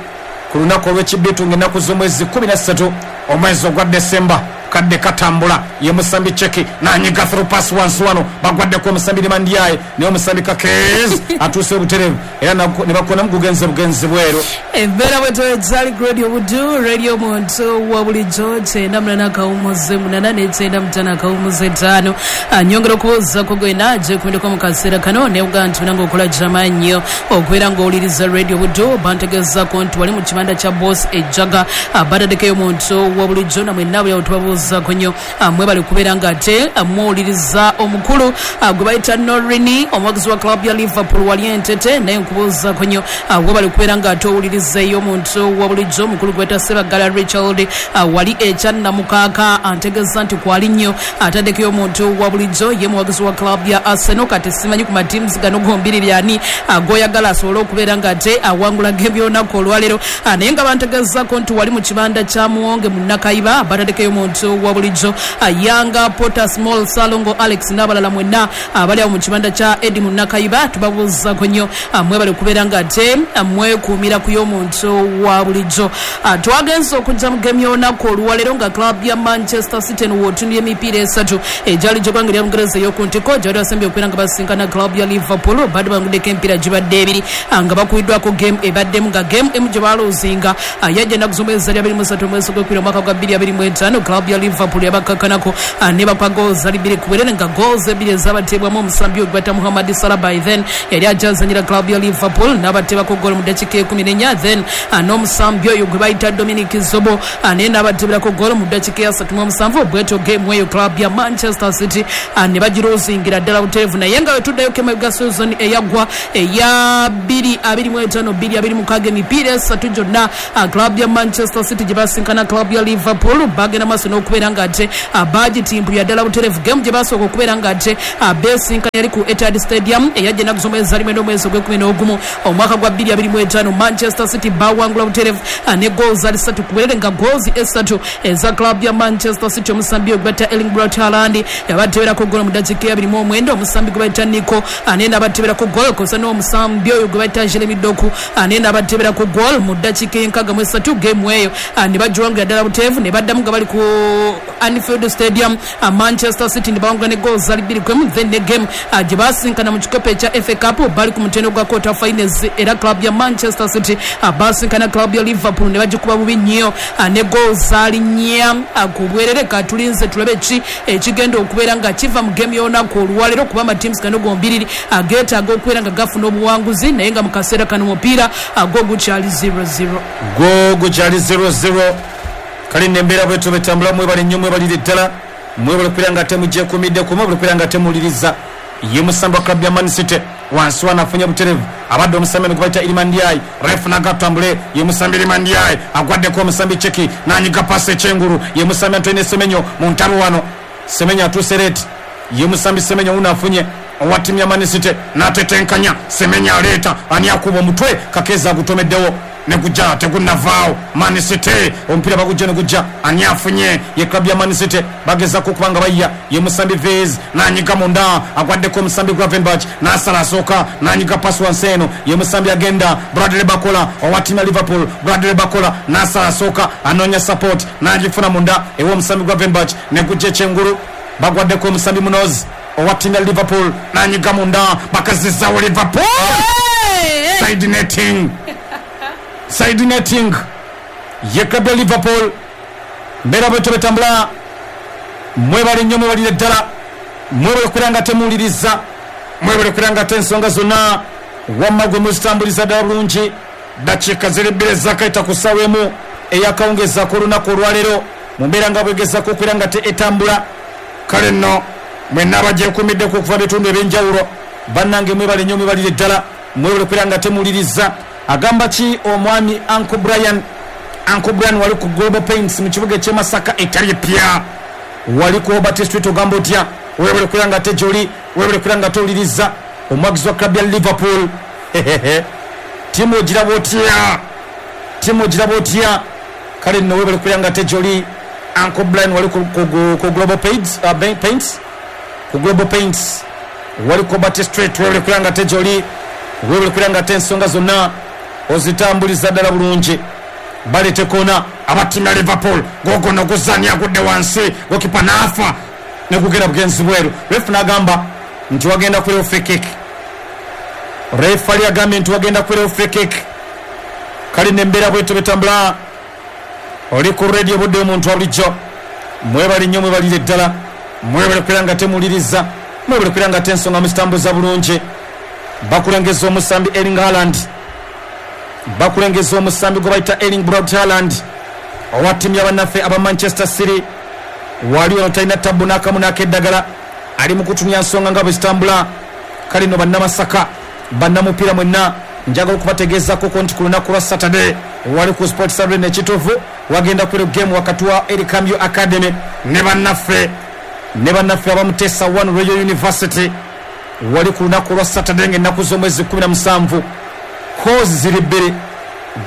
Speaker 2: ku lunaku olw'ekibbitu ng'ennaku z'omwezi kumi na ssatu omwezi ogwa Desemba, kadde katambula. Ye musambi Cheki nanyiga through pass wansi wano, bagwaddeko omusambi Limandiaye, naye omusambi Kakez atuuse obutereevu era ne bakonamu gugenze bugenzi bweru.
Speaker 1: Embeera bwetwezali Radio Buddu, radio muntu wa bulijjo kyenda munana akawumuze munana ne kyenda mutaano akawumuze ttaano. Nyongera okubuuzaako gwena gyekumideko mu kaseera kano nebuga nti munange okola gyamaanyi okubeera ng'owuliriza Radio Buddu. Bantegeezaako nti wali mu kibanda kya Boss Ejaga, bataddeko omuntu wa bulijjo na mwenna buli awo tubabuuzaako nnyo. Mwebale kubeera nga ate muwuliriza omukulu gwe bayita Norini, omuwagizi wa club ya Liverpool wali Entete, naye nkubuuzaako nnyo. Webale kubeera nga ate owuliriza omuntu wa bulijjo omukulu gwe bayita Sebagala Richard wali ekyannamukaaka, antegeeza nti kwali nnyo ataddekeyo omuntu wa bulijjo. Ye muwagizi wa club ya Arsenal, kati simanyi ku matiimu gano gombiriri ani goyagala asobole okubeera nga ate awangula game y'olunaku olwaleero, naye nga bantegeezaako nti wali mu kibanda kya Muwonge mu Nakaiba, bataddekeyo omuntu wa bulijjo Yanga Potter Small Salongo Alex n'abalala mwenna abali awo mu kibanda kya Edi mu Nakaiba, tubabuuzaako nnyo. Mwebale kubeera nga ate mwekuumira ku y'omuntu wa bulijjo. Twagenze okujja mu game y'olunaku olwaleero nga club ya Manchester City w'otunula emipiira esatu egyali gy'eggwanga lya Bungereza ey'oku ntiko gyali basembye okubeera nga basinkana club ya Liverpool, badde banguddeko emipiira gibadde ebiri nga bakubiddwako game ebaddemu nga game emu gye baaloozinga yajja ennaku z'omwezi zali abiri mu ssatu omwezi gw'ekkumi omwaka gwa bbiri abiri mu etaano. Club ya Liverpool yabakkakanako ah, ne bapa goals ali bbiri ku bwerere nga goals ebbiri ezabateebwamu omusambi oyo gwata Muhammad Salah by then yali akyazanyira club ya Liverpool n'abateebako goal mu ddakiika ekumi n'ennya then ah, n'omusambi oyo gwe bayita Dominic Zobo ah, naye n'abateeberako goal mu ddakiika ya asatu mu omusanvu. Bwetyo game eyo club ya Manchester City ah, ne bagirozingira ddala butereevu. Naye nga wetuddayo kemabega season eyaggwa eya bbiri abiri mu etaano bbiri abiri mukaaga emipiira esatu gyonna ah, club ya Manchester City gye basinkana club ya Liverpool bagenda maaso n'okubeera nga ate ah, bagitimpulira ddala butereevu. Game gye basooka okubeera nga ate ah, besinkana yali ku Etihad Stadium eyajja ennaku z'omwezi ali mwenda omwezi ogw'ekkumi n'ogumu omwaka gwa bbiri abiri mu etaano. Manchester City bawangula butereevu ah, ne goals ali ssatu ku bwerere nga goals esatu eza club ya Manchester City omusambi oyo gwe bayita Erling Braut Haaland yabateeberako goal mu ddakiika ya abiri mu omwenda, omusambi gwe bayita Nico ah, naye n'abateeberako goal kosa n'omusambi oyo gwe bayita Jeremy Doku ah, naye n'abateeberako goal mu ddakiika ey'enkaaga mu esatu. Game eyo ah, ne bagiwangula ddala butereevu ne baddamu nga bali ku Anfield Stadium ah, Manchester City ne bawangula ne goals ali bbiri ku emu. Then ne game ah, gye basinkana mu kikopo ekya F A Cup bali ku mutendo gwa quarter finals era club ya Manchester City ah, basinkana club ya Liverpool ne bagikuba bubi nnyo ah, ne goals ali nnya ah, ku bwerere. Katulinze tulabe ki ekigenda okubeera nga kiva mu game y'olunaku olwaleero kuba amatiimu gano gombiriri ageetaaga okubeera nga gafuna obuwanguzi, naye nga mu kaseera kano omupiira gwo gukyali zero zero.
Speaker 2: Gwo gukyali zero zero. Kale nembeera bwetyo betambula. Mwebale nnyo, mwebalire ddala, mwebale okubeera nga temugyekuumiddeko, mwebale okubeera nga temuwuliriza. Ye musambi wa club ya Man City wansi wano afunye butereevu, abadde omusambi ono gwe bayita Iliman Ndiaye, ref nagatambule. Ye musambi Iliman Ndiaye agwaddeko omusambi Cheki n'anyiga pasi ekyengulu. Ye musambi Antoine Semenyo mu ntalo wano, Semenyo atuuse leeti. Ye musambi Semenyo wuno afunye owa ttiimu ya Man City n'atetenkanya. Semenyo aleeta ani akuba omutwe, Kakeza agutomeddewo ne gujja tegunnavaawo. Man City omupiira bagujja ne gujja, ani afunye? Ye club ya Man City bagezaako okuba nga bayiya. Ye musambi Vez n'anyiga munda, agwaddeko omusambi Gravenberch n'asala asooka n'anyiga pasi wansi eno. Ye musambi agenda Bradley Bakola owa ttiimu ya Liverpool, Bradley Bakola n'asala asooka anoonya support n'agifuna munda ew'omusambi Gravenberch ne gujja ekyengulu, bagwaddeko omusambi Munoz owa ttiimu ya Liverpool n'anyiga munda, bakazizaawo Liverpool. Side netting, side netting ye club ya Liverpool. Mbeera bwetyo betambula. Mwebale nnyo, mwebalire ddala, mwebale okubeera nga temuwuliriza, mwebale okubeera nga te ensonga zonna wamma gwe muzitambuliza ddala bulungi. Ddakiika ziri bbiri ezakayita ku ssaawa emu eyakawungezaako olunaku olwaleero mu mbeera nga bwegezaako okubeera nga te etambula. Kale nno mwenna abagyekuumiddeko okuva bitundu ebyenjawulo, bannange mwebale nnyo, mwebalire ddala, mwebale okubeera nga temuwuliriza. Agamba ki omwami Uncle Brian? Uncle Brian wali ku Global Paints mu kibuga eky'e Masaka etali ppya, wali ku Obert Street. Ogamba otya? Weebale okubeera nga te gy'oli, weebale okubeera nga towuliriza. Omwagizi wa club ya Liverpool, ttiimu ogiraba otya? Ttiimu ogiraba otya? Kale nno weebale okubeera nga te gy'oli. Uncle Brian wali ku, ku, ku Global Paints, uh, Paints ku Global Paints wali ku Obert Street. Weebale okubeera nga te gy'oli, weebale okubeera nga te ensonga zonna ozitambuliza ddala bulungi. Baleete koona abattiimu ya Liverpool, gogono guzani agudde wansi, gokipa n'afa ne gugenda bugenzi bweru. Ref n'agamba nti wagenda kubeerawo free kick. Refali agambye nti wagenda kubeerawo free kick. Kale nembeera bwetyo betambula. Oli ku radio budde omuntu wa bulijjo. Mwebale nnyo, mwebalire ddala, mwebale okubeera nga temuwuliriza, mwebale okubeera nga te ensonga muzitambuza bulungi. Bakulengeza omusambi Erling Haaland, bakulengeza omusambi gwe bayita Erling Braut Haaland owa ttiimu y'abannaffe aba Manchester City. Wali ono talina tabbu n'akamu n'akeddagala, ali mu kutumya nsonga nga bwe zitambula. Kale nno bannamasaka, bannamupiira mwenna, njagala okubategeezaako ko nti ku lunaku lwa Saturday wali ku Sports Arena ekituufu wagenda kubeera game wakati wa Erikamyo Academy ne bannaffe ne bannaffe abamutesa one Royal University. Wali ku lunaku lwa Saturday ng'ennaku z'omwezi kkumi na musanvu, kozi ziri bbiri.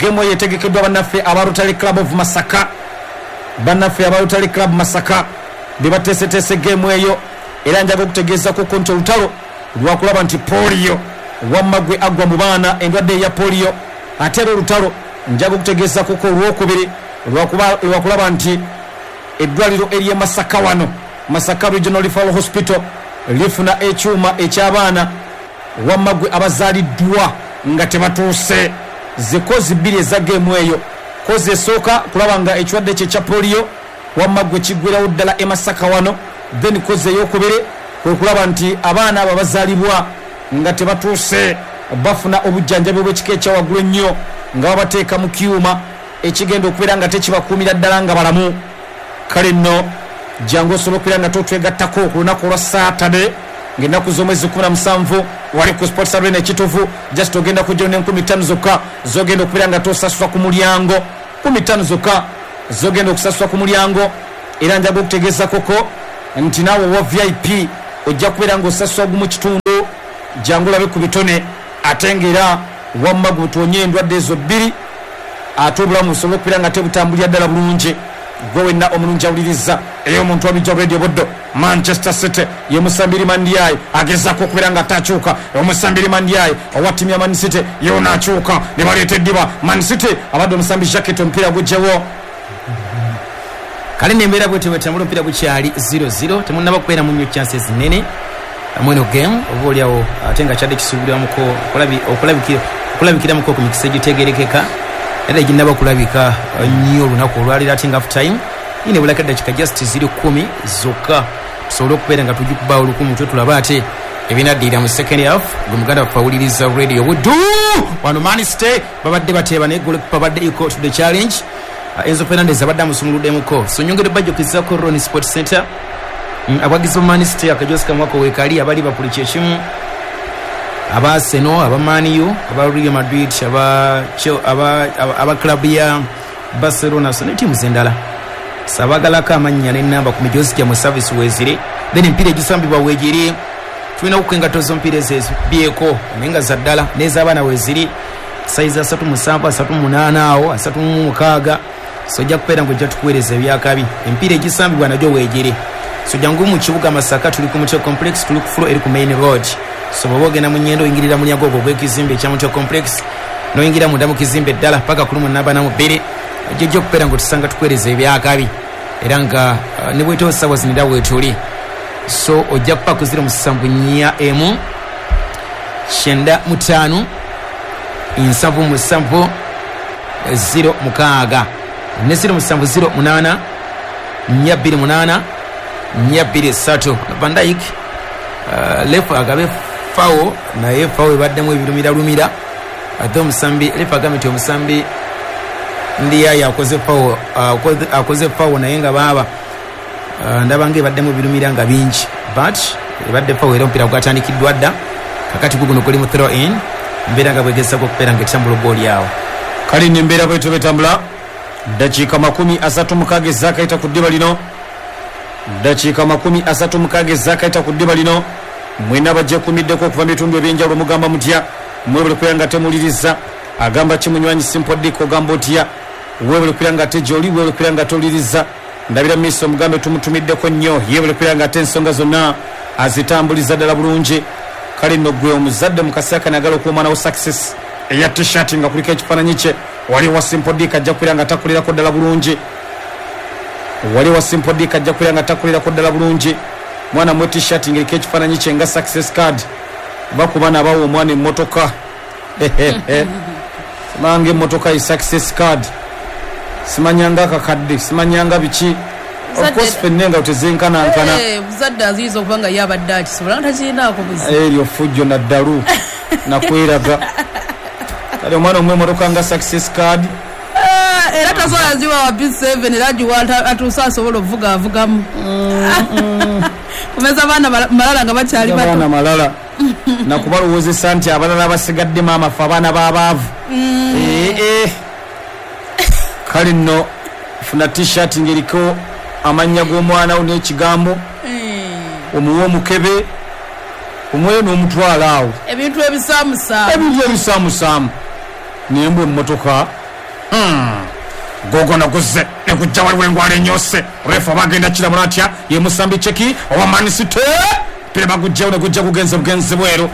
Speaker 2: Game eyo etegekeddwa bannaffe aba Rotary Club of Masaka, bannaffe aba Rotary Club Masaka be bateeseteese game eyo. Era njaga okutegeezaako ko nti olutalo lwakulaba nti polio wamma gwe agwa mu baana endwadde eya polio. Ate era olutalo njaga okutegeezaako ko olwokubiri lwakulaba nti eddwaliro ery'e Masaka wano, Masaka Regional Referral Hospital, lifuna ekyuma eky'abaana wamma gwe abazaaliddwa nga tebatuuse. Zikozi bbiri eza geemu eyo. Kozi esooka kulaba nga ekirwadde kye ekya polio Wamma gwe kiggwerawo ddala e Masaka wano. Then koze eyokubiri kwe kulaba nti abaana abo abazaalibwa nga tebatuuse bafuna obujjanjabi obw'ekika ekya waggulu ennyo, nga babateeka mu kyuma ekigenda okubeera nga tekibakuumira ddala nga balamu. Kale nno jangu osobola okubeera nga totwegattako ku lunaku olwa Saturday ng'ennaku z'omwezi kumi na musanvu wali ku Sports Arena Ekitovu. Just ogenda kujja n'enkumi ttaano zokka zogenda okubeera nga tosasula ku mulyango, kumi ttaano zokka zogenda okusasula ku mulyango. Era njaga okutegeeza koko nti naawe owa V I P ojja kubeera ng'osasula gumu kitundu. Jangu olabe ku bitone, ate ng'era wamma gutonye endwadde ezo bbiri, ate obulamu busobole okubeera nga tebutambulira ddala bulungi. Gwe wenna omulungi awuliriza eyo omuntu wabijja Radio Buddo. Manchester City ye Musambiri Mandiaye agezaako okubeera nga takyuka. Omusambiri Mandiaye owa ttiimu ya Man City ye akyuka ne baleeta eddiba. Man City abadde omusambi Jacket omupiira gugyewo.
Speaker 4: Kale nembeera bwetyo bwetambula, omupiira gukyali zero zero, temunnaba kubeera mu nnyo chances nnene mweno game oba oliawo, ate nga kyadde kisuubirwamuko okulabikiramuko ku mikisa egitegerekeka, era eginnaba kulabika nnyo olunaku olwaleero. Ate nga half time ine bulaka eddakiika just ziri kkumi zokka tusobole okubeera nga tugikubaawo olukumu mutwe, tulabe ate ebinaddirira mu second half. Gwe muganda waffe awuliriza Radio Buddu wano, Man City babadde bateeba naye goalkeeper abadde equal to the challenge. Enzo Fernandez abadde amusumuluddemuko. So nyongere bajjukizaako Ron Sports Center, abawagizi ba Man City akajosi kamwako weekali aba Liverpool kyekimu, aba Arsenal, aba Man U, aba Real Madrid, aba aba aba club ya Barcelona, so ne ttiimu endala. Sabagalako amannya n'ennamba ku mijozi gyammwe service weeziri, then emipiira egisambibwa weegiri. Tulina okuka engatto z'omupiira ezo ezibyeko naye nga za ddala, n'ez'abaana weeziri sayizi asatu musanvu, asatu munaana awo, asatu mu mukaaga. So ojja kubeera ng'ojja tukuweereza ebyakabi. Emipiira egisambibwa nagyo weegiri. So jangu mu kibuga Masaka, tuli ku Mutwe Complex, tuli ku floor eri ku main road. So bw'oba ogenda mu Nyendo oyingirira mulyango ogwo ogw'ekizimbe ekya Mutwe Complex, n'oyingira munda mu kizimbe ddala paka ku lumu namba na mu bbiri, ojja okubeera ng'otusanga tukuweereza ebyakabi. Era nga uh, ne bwetoosa ssaawa zino era weetuli. So ojja kupa ku ziro musanvu nnya emu kyenda mu ttaano nsanvu musanvu ziro mukaaga ne ziro musanvu ziro munaana nnya bbiri munaana nnya bbiri ssatu. Van Dijk uh, lefu agabe fawo, naye fawo ebaddemu ebirumiralumira. Ate omusambi lefu agambye nti omusambi Ndiaye akoze fawo, uh, akoze fawo naye nga baaba uh, ndaba nga ebaddemu ebirumira nga bingi, but ebadde fawo era omupiira gwatandikiddwa dda. Kakati guguno guli mu throw in, mbeera nga bwegezako okubeera nga etambula gooli awo.
Speaker 2: Kale nembeera bwetyo betambula. Dakiika makumi asatu mukaaga ezaakayita ku ddiba lino, dakiika makumi asatu mukaaga ezaakayita ku ddiba lino. Mwena bajekumiddeko okuva mu bitundu ebyenjawulo mugamba mutya? Mwebale kubeera nga temuwuliriza. Agamba ki munywanyi Simple Dick, ogamba otya? Weebale kubeera nga te gy'oli, weebale kubeera nga towuliriza. Ndabira miiso omugambe tumutumiddeko nnyo, yeebale kubeera nga ate ensonga zonna azitambuliza ddala bulungi. Kale nno gwe omuzadde mu kaseera kano agala okuwa omwana wo success eya t-shirt nga kuliko ekifaananyi kye, wali wa Simple Dick ajja kubeera nga takulirako ddala bulungi. Wali wa Simple Dick ajja kubeera nga takulirako ddala bulungi. Mwana mwe t-shirt ng'eriko ekifaananyi kye nga success card, bakuba n'abawa omwana emmotoka. Simanga emmotoka ye success card, simanyanga akakadde, simanyanga biki. Of course ffenna nga tezenkanankana.
Speaker 1: Muzadde aziyinza okuba nga ye abadde akisobola nga takirinaako buzibu.
Speaker 2: Eryo ffujjo naddalu nakweraga. Kale omwana omuwa emmotoka nga success card,
Speaker 1: era tasobola ziwa wa P seven, era agiwa atuuse asobola okuvuga avugamu. Kumeza abaana malala nga bakyali bato.
Speaker 2: Abaana malala nakubalowoozesa nti abalala abasigadde maama ffe abaana b'abaavu. Kale nno funa t-shirt ng'eriko amannya g'omwana wo n'ekigambo, omuwe omukebe, omuwe n'omutwalo awo.
Speaker 1: Ebintu ebisaamusaamu,
Speaker 2: ebintu ebisaamusaamu. Naye mbwe emmotoka gogono guzze nekujja waliwo engwala enyose. Refa bagenda kiramula atya? Ye Musambi Cheki owa Man City Pira bagujjawo ne gujja kugenza bugenzi bweru.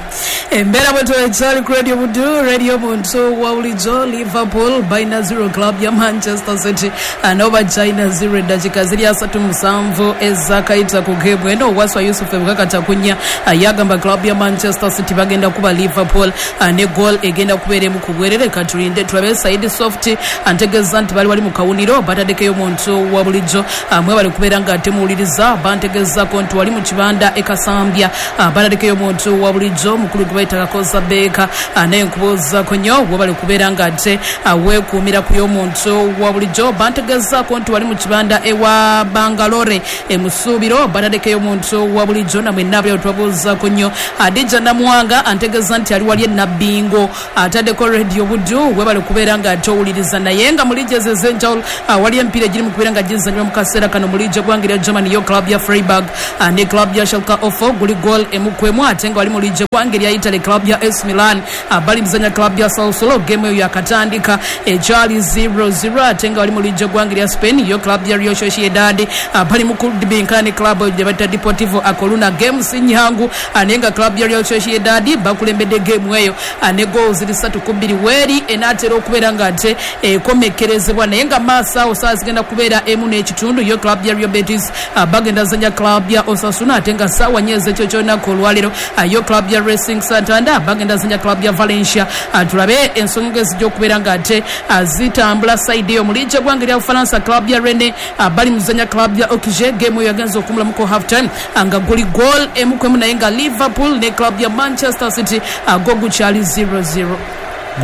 Speaker 1: Embeera bwe tuwekyali ku Radio Budu, Radio Muntu wa bulijjo. Liverpool balina zero, club ya Manchester City nabo bakyalina zero. Eddakiika ziri asatu musanvu ezakayita ku geemu eno. Waswa Yusuf Ebukakata kunya yagamba club ya Manchester City bagenda kuba Liverpool ne goal egenda kubeera emu ku bwerere. Katulinde tulabe. Saidi Soft antegeeza nti bali wali mu kawuniro bataddekeyo muntu wa bulijjo, mwe bali kubeera nga temuwuliriza. Bantegeezako nti wali mu kibanda e Kasambya, bataddekeyo muntu wa bulijjo mukulu gwe bayita Kakoza Beeka, naye nkubuuzaako nnyo we bali kubeera nga ate weekuumira ku y'omuntu wa bulijjo. Bantegeezaako nti wali mu kibanda ewa Bangalore e Musuubiro, bataddekeyo omuntu wa bulijjo namwenna abali tubabuuzaako nnyo. Adija Namwanga antegeeza nti ali wali e Nabbingo, ataddeko Radio Budu, we bali kubeera nga ate owuliriza. Naye nga mu liigi ezo ez'enjawulo wali emipiira egiri mu kubeera nga gizannyibwa mu kaseera kano. Mu liigi eggwanga erya Germany, yo club ya Freiburg ne club ya Schalke ofo guli goal emu ku emu. Ate nga wali mu liigi eggwanga erya Italy, club ya A C Milan bali muzannya club ya Sassuolo, game eyo yakatandika ekyali zero zero. Ate nga wali mu liigi eggwanga erya Spain, yo club ya Real Sociedad bali mu kudibinkana ne club gye bayita Deportivo A Coruna, game si nyangu, naye nga club ya Real Sociedad bakulembedde game eyo ne goals ziri ssatu ku bbiri weeri enaatera okubeera nga ate ekomekerezebwa. Naye nga maaso awo saa zigenda kubeera emu n'ekitundu, yo club ya Real Betis bagenda zanya club ya Osasuna. Ate nga saawa nnya ez'ekyo ky'olunaku olwaleero, yo club ya Racing Santander bagenda zanya club ya Valencia. Tulabe ensonga ezijja okubeera nga ate zitambula side eyo. Mu liigi eggwanga erya Bufalansa, club ya Rennes bali muzanya club ya Auxerre, game eyo yagenza okumulamuko half time nga guli goal emu ku emu. Naye nga Liverpool ne club ya Manchester City go gukyali zero zero.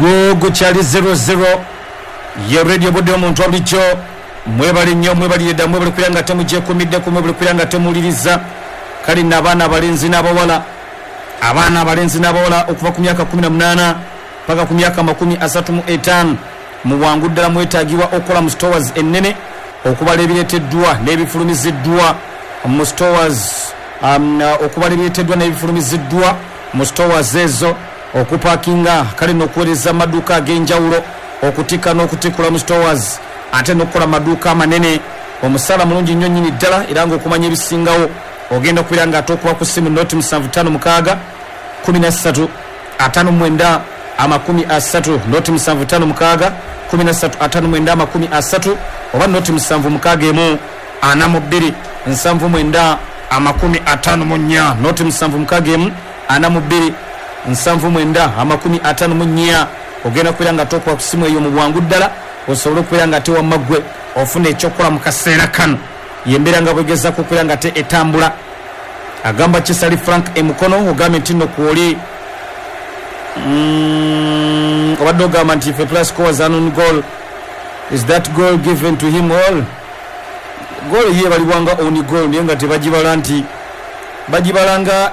Speaker 2: Go gukyali zero zero. Ye Radio Budu omuntu wa bulijjo, mwebale nnyo, mwebalire dda, mwebale kubeera nga temugyekuumiddeko, mwebale kubeera nga temuwuliriza. Kale nno abaana abalenzi n'abawala, abaana abalenzi n'abawala okuva ku myaka kumi na munaana paka ku myaka makumi asatu mu etaano, mu bwangu ddala mwetaagibwa okukola mu stores ennene okubala ebireeteddwa n'ebifulumiziddwa mu stores, um, okubala ebireeteddwa n'ebifulumiziddwa mu stores ezo, okupakinga, kale n'okuweereza amaduuka ag'enjawulo, okutikka n'okutikula mu stores, ate n'okukola amaduuka amanene. Omusaala mulungi nnyo nnyini ddala, era ng'okumanya ebisingawo ogenda okubeera nga ate okuba ku ssimu noti musanvu ttaano mukaaga kumi na ssatu ataano mwenda amakumi asatu, noti musanvu ttaano mukaaga kumi na ssatu ataano mwenda amakumi asatu, oba noti musanvu mukaaga emu ana mu bbiri nsanvu mwenda amakumi ataano mu nnya, noti musanvu mukaaga emu ana mu bbiri nsanvu mwenda amakumi ataano mu nnya. Ogenda kubeera nga tokuba ku ssimu eyo mu bwangu ddala osobole okubeera nga ate wamma ggwe ofuna ekyokukola mu kaseera kano. Yembeera nga bwegezaako okubeera nga ate etambula. Agamba Kisali Frank emukono, ogambye nti nno kwoli mm, obadde ogamba nti if a player scores an own goal, is that goal given to him? All goal ye balibwanga own goal, naye nga tebagibala nti bagibala nga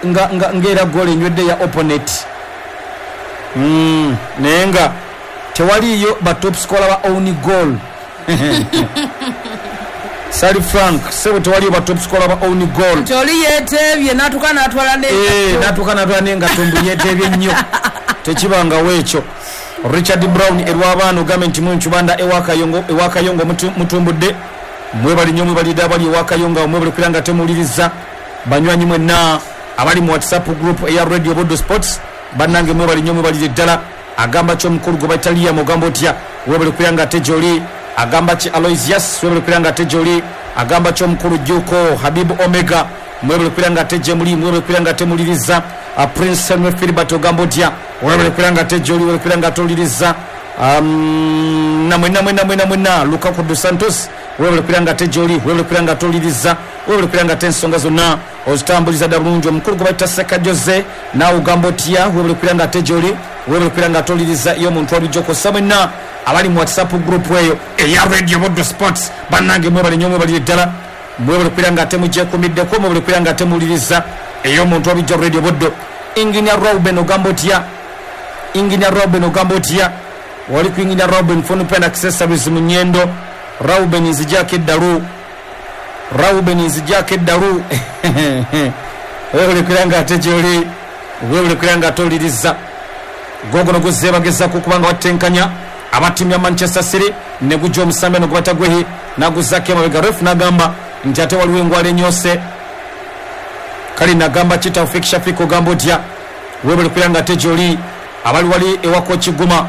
Speaker 2: nga nga ng'era goal enywedde ya opponent. mm, naye nga tewaliyo ba top scorer ba own goal. Sali Frank sebo, tewaliyo ba top scorer ba own goal.
Speaker 1: Nti oli yeeteebye n'atuuka n'atwala ne
Speaker 2: Eh, natuuka natwala naye nga tumbu yeteebye nnyo, tekibangawo ekyo. Richard Brown erwabaana, ogambye nti munkibanda ewakayongo, ewakayongo mutumbudde. Mwebali nnyo, mwebalidde abali ewakayongo, mwebali kubeera nga temuwuliriza. Banywanyi mwenna abali mu WhatsApp group eya Radio Bodo Sports, bannange mwebali nnyo, mwebalire ddala. Agamba ki omukulu gwe bayita Liam, ogamba otya? Webali kubeera nga ate gyoli. Agamba ki Aloysius, webali kubeera nga ate gyoli. Agamba ki omukulu Juko Habibu Omega, mwebali kubeera nga ate gye muli, mwebali kubeera nga temuwuliriza. Prince Henry Philbert, ogamba otya? Webali kubeera nga ate gyoli, webali kubeera nga towuliriza. um, namwena mwena mwena mwena Lukaku dos Santos, webali kubeera nga ate gyoli, webali kubeera nga towuliriza, webali kubeera nga ate ensonga zonna ozitambuliza dda bulungi. Omukulu gwe bayita Seka Jose, naawe ogamba otya? Webali kubeera nga ate gyoli, webali kubeera nga towuliriza. Iyo omuntu walijjo kossa mwenna abali mu WhatsApp group eyo eya Radio Bodo Sports, bannange mwebale nnyo, mwebalire ddala, mwebale kubeera nga ate mugyekuumiddeko, mwebale kubeera nga ate muwuliriza ey'omuntu wabijja Radio Bodo. Engineer Robin, ogamba otya? Engineer Robin, ogamba otya? Wali ku Engineer Robin phone pen accessories mu Nyendo. Robin, nzijako eddalu. Robin, nzijako eddalu. Webale kubeera nga ate gyoli, webale kubeera nga ate owuliriza. Gogono guzze bagezaako okuba nga batenkanya abattiimu ya Manchester City, ne gujja omusambi ne gubata gwehi naguzaako emabega. Ref n'agamba nti ate waliwo engwala enyose. Kale nagamba ki Taufik Shafik, ogamba otya? Webale kubeera nga ate gyoli. Abali wali ewako Kiguma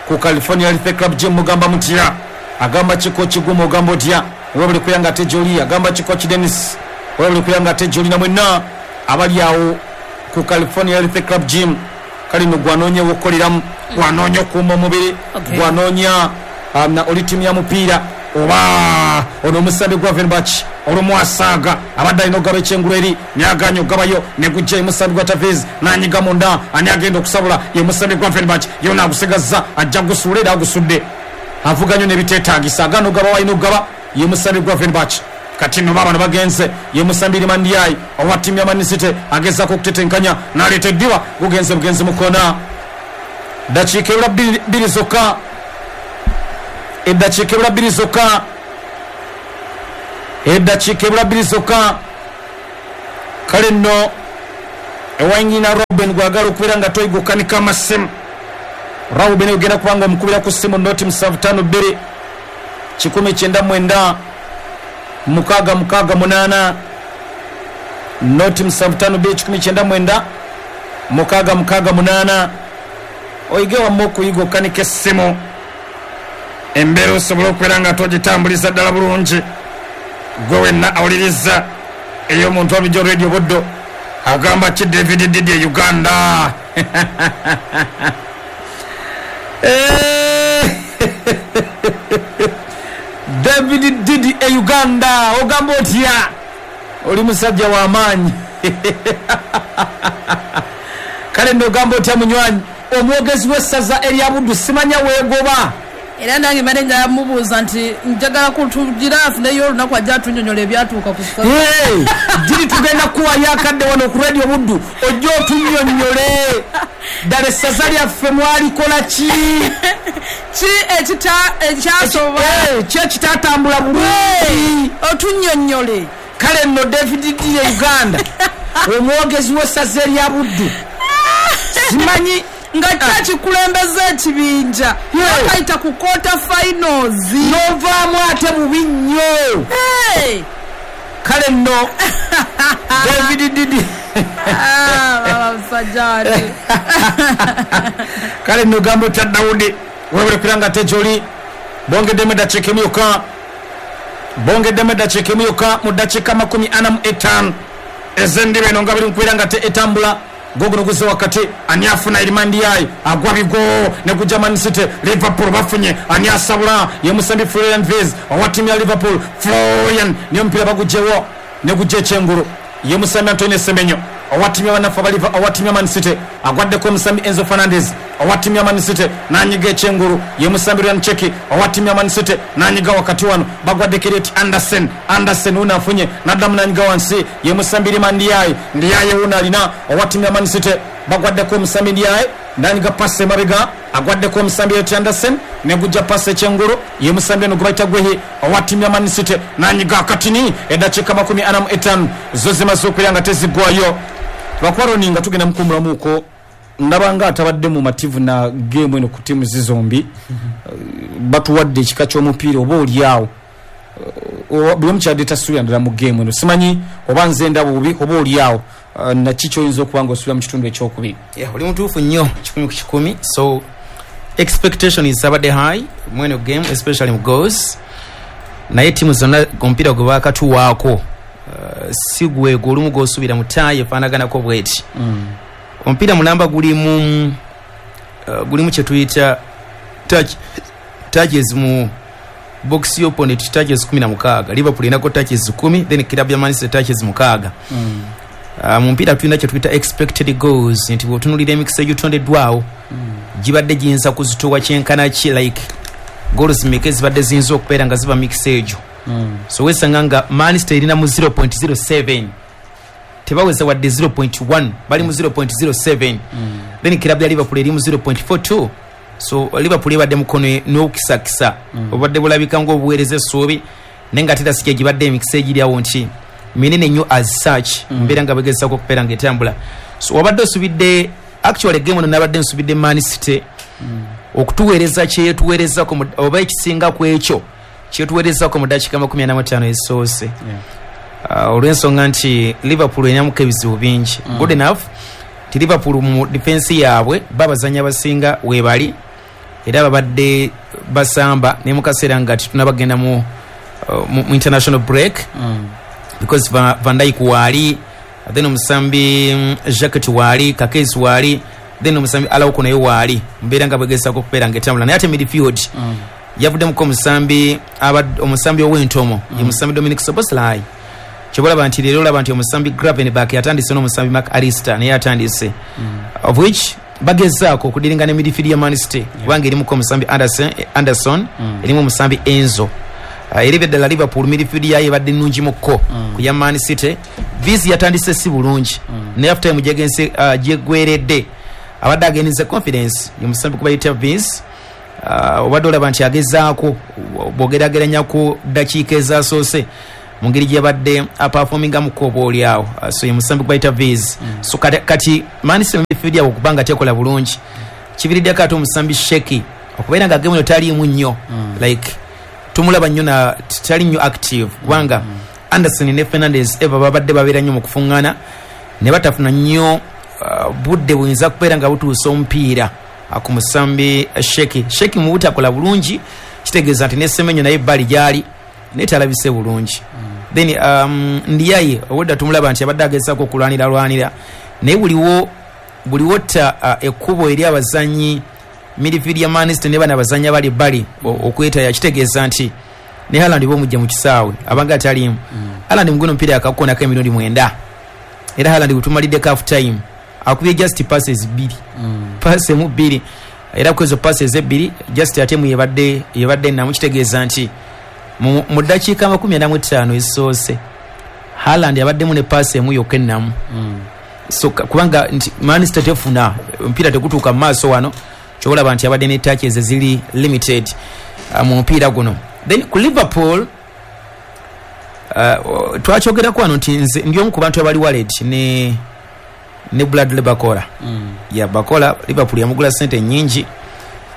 Speaker 2: ku California Health Club Gym, mugamba mutya? Agamba ki Coach Guma, ogamba otya? Webale kubeera nga ate gyoli. Agamba ki Coach Dennis, webale kubeera nga ate gyoli. Namwenna abali awo ku California Health Club Gym, kale no gwanoonya wokukoleramu, gwanoonya okuuma omubiri,
Speaker 1: Okay.
Speaker 2: gwanoonya um, na oli ttiimu ya mupiira oba ono omusambi Gravenberch olumu asaaga abadde alina okugaba ekyengulu eri nayaganya okugabayo negujja emusambi gwa Tevez nanyiga munda, ani agenda okusabula? Ye musambi Gravenberch, yona agusigazza, ajja gusuula era agusudde, avuga nnyo nebiteetagisa, agaana okugaba walina okugaba ye musambi Gravenberch. Kati nno baabano bagenze, ye musambi Iliman Ndiaye owa ttiimu ya Man City agezaako okutetenkanya n'aleeta eddiba, gugenze bugenzi mu kona. Dakiika ebula bbiri bbiri zokka, eddakiika ebula bbiri zokka, eddakiika ebula bbiri zokka. Kale nno ewanyina Robin gwagala okubeera nga toyigukanika amasimu, Robin ogenda kubanga omukubira ku ssimu noti musanvu ttaano bbiri kikumi kyenda mwenda mukaaga mukaaga munaana, noti musanvu ttaano bbiri kikumi kyenda mwenda mukaaga mukaaga munaana, oyige wamma okuyiga okukanika essimu, embeera osobole okubeera nga togitambuliza ddala bulungi. Gwe wenna awuliriza ey'omuntu wabijjo Radio Buddo, agamba ki David Didi e Uganda? Eh, David Didi e Uganda, ogamba otya? Oli musajja w'amaanyi. Kale nno ogamba otya munywanyi omwogezi w'essaza erya Buddu, simanya weegoba?
Speaker 1: Era nange mbadde njagala mubuuza nti njagala kutugira afuneyo olunaku ajja atunyonyola ebyatuuka ku ssaza.
Speaker 2: Hey, Didi tugenda kuwayo akadde wano ku Radio Buddu ojja otunnyonnyole ddala essaza lyaffe mwalikola ki?
Speaker 1: Ki ekita- ekyasoba?
Speaker 2: Eh, ki ekitatambula bulungi?
Speaker 1: Otunnyonnyole.
Speaker 2: Kale nno David Didi e Uganda, omwogezi w'essaza erya Buddu, simanyi
Speaker 1: nga kyakikulembeza ekibinja
Speaker 2: Yeah.
Speaker 1: akayita ku quarter finals
Speaker 2: n'ovaamu ate bubi nnyo.
Speaker 1: Hey!
Speaker 2: Kale nno David Didi.
Speaker 1: Ah, baba musajja watu.
Speaker 2: Kale nno gamba otya Dawudi, webale kubeera nga ate gyoli. Bongeddemu eddakiika emu yokka, bongeddemu eddakiika emu yokka mu ddakiika makumi ana mu etaano ez'endiba eno nga biri mukubeera nga te etambula. Goguno guze wakati, ani afuna? Iliman Ndiaye agwa bigo ne gujja Man City. Liverpool bafunye, ani asabula? Ye musambi Florian Wirtz owa ttiimu ya Liverpool. Florian niyo omupiira bagugyewo ne gujja ekyengulu, ye musambi Antonio Semenyo owa ttiimu y'abanafu abaliva owa ttiimu ya Man City, agwaddeko omusambi Enzo Fernandez owa ttiimu ya Man City nanyiga ekyengulu, ye musambi Ryan Cherki owa ttiimu ya Man City nanyiga wakati wano, bagwaddeko Elliot Anderson. Anderson wuno afunye naddamu nanyiga wansi, ye musambi Iliman Ndiaye. Ndiaye wuno alina owa ttiimu ya Man City, bagwaddeko omusambi Ndiaye nanyiga pasi emabega, agwaddeko omusambi Elliot Anderson negujja pasi ekyengulu, ye musambi eno gwe bayita Guehi owa ttiimu ya Man City nanyiga akatini. Eddakiika makumi ana mu etaano zo zimaze okubeera nga teziggwayo. Lwakuba nga tugenda mukuumulamuuko, ndaba nga atabadde mu mativu na geemu eno ku ttiimu zizombi, batuwadde ekika ky'omupiira oba oliawo buli omu kyadde tasuubira ddala mu geemu eno. Simanyi oba nze ndaba bubi oba oliawo naki kyoyinza okuba nga osuubira mu kitundu ekyokubiri.
Speaker 4: Yeah, oli mutuufu nnyo kikumi ku kikumi. So expectation is abadde high mweno game, especially mu goals, naye tiimu zonna omupiira gwe baakatuwaako uh, si gwego olumu gw'osuubira mu ttaayi efaanaganako bweti. Omupiira mulamba gulimu uh, gulimu kye tuyita touch, touches mu box opponent, touches kumi na mukaaga. Liverpool erina touches kumi, then club ya Man City touches mukaaga. mm. Uh, mu mpiira tulina kye tuyita expected goals, nti bw'otunuulira emikisa egitondeddwawo mm. gibadde giyinza kuzitowa kyenkana ki, like goals mmeka ezibadde ziyinza okubeera nga ziba mikisa egyo. mm. So wesanga nga Man City erina mu zero point zero seven, tebaweza wadde zero point one, bali mu zero point zero seven. mm. Then club ya Liverpool eri mu zero point four two. So Liverpool ebadde mukono n'okukisakisa mm. obadde bulabika ngaobuweereza essuubi, naye nga tera si gibadde emikisa egiri awo nti minene nnyo as such. mm. Mbeera nga begezaako okubeera nga etambula. So wabadde osubidde, actually game ono nabadde nsubidde Man City mm. okutuweereza kyetuweerezako oba ekisinga ku ekyo kyetuweerezako mu dakiika makumi ana mu ttaano ezisoose. yeah. Uh, olw'ensonga nti Liverpool erinamuko ebizibu bingi.
Speaker 1: Mm.
Speaker 4: Good enough ti Liverpool mu defense yaabwe babazanyi abasinga webali era babadde basamba ne mu kaseera nga tetunnabagenda mu, uh, mu, mu international break.
Speaker 1: Mm.
Speaker 4: Because Va- Van Dijk waali, then omusambi mm, Jacques waali, Kakes waali, then omusambi Araujo naye waali, mbeera nga bwegezaako okubeera nga etambula. Naye ate midfield
Speaker 1: Mm.
Speaker 4: yavuddemuko omusambi abad- omusambi ow'entomo,
Speaker 1: Mm.
Speaker 4: ye musambi Dominic Szoboszlai. Kyobalaba nti leero olaba nti omusambi Gravenberch yatandise n'omusambi Mark Alister naye atandise,
Speaker 1: Mm.
Speaker 4: of which bagezaako okudiringa ne midfield ya Man City, kubanga erimuko omusambi Anderson, Anderson
Speaker 1: Mm.
Speaker 4: erimu omusambi Enzo. Uh, era eby'eddala Liverpool midfield yayo ebadde nnungi mukko
Speaker 1: Mm.
Speaker 4: ku ya Man City. Viz yatandise si bulungi,
Speaker 1: Mm.
Speaker 4: naye half time gyegenze uh, gyeggweredde abadde agenze confidence ye musambi kubayita Viz. Uh, obadde olaba nti agezaako bw'ogeraageranya ku ddakiika ezasoose mu ngeri gyebadde aperformingamuko oba oli awo. Uh, so ye musambi kubayita Viz.
Speaker 1: Mm.
Speaker 4: So kati, kati Man City midfield yabwe okubanga tekola bulungi kiviriddeko ate omusambi Sheki okubeera nga game eno taliimu nnyo.
Speaker 1: Mm.
Speaker 4: Like tumulaba nnyo na tali nnyo active kubanga
Speaker 1: Mm.
Speaker 4: Anderson ne Fernandes eva babadde babeera nnyo mu kufuŋŋaana ne batafuna nnyo uh, budde buyinza kubeera nga butuusa omupiira uh, ku musambi Sheki. Sheki mu butakola bulungi kitegeeza nti ne Semenyo naye ebbali gyali naye talabise bulungi.
Speaker 1: Mm.
Speaker 4: Then um, Ndiaye obwedda tumulaba nti abadde agezaako okulwanira lwanira, naye buliwo buliwo tta uh, ekkubo eri abazanyi midfield ya Man City ne bano abazanyi abali ebbali o- okwetaya, kitegeeza nti ne Haaland bomujja mu kisaawe abanga ataliimu.
Speaker 1: Mm.
Speaker 4: Haaland muguno omupiira akakukonako emirundi mwenda, era Haaland bwetumaliddeko half time akubye just passes bbiri,
Speaker 1: Mm.
Speaker 4: pass emu bbiri, era ku ezo passes ebbiri just ate mu yebadde yebadde namu, kitegeeza nti mu mu ddakiika makumi ana mu ttaano ezisoose Haaland abaddemu ne pass emu yokka ennamu.
Speaker 1: Mm.
Speaker 4: So ka- kubanga nti Man City tefuna omupiira tegutuuka mu maaso wano, kyolaba nti abadde ne touches eziri limited uh, mu mupiira guno. Then ku Liverpool uh, twakyogerako wano nti nze ndi omu ku bantu abali wallet ne ne Bradley Barcola.
Speaker 1: Mm.
Speaker 4: Ya Barcola Liverpool yamugula sente nyingi.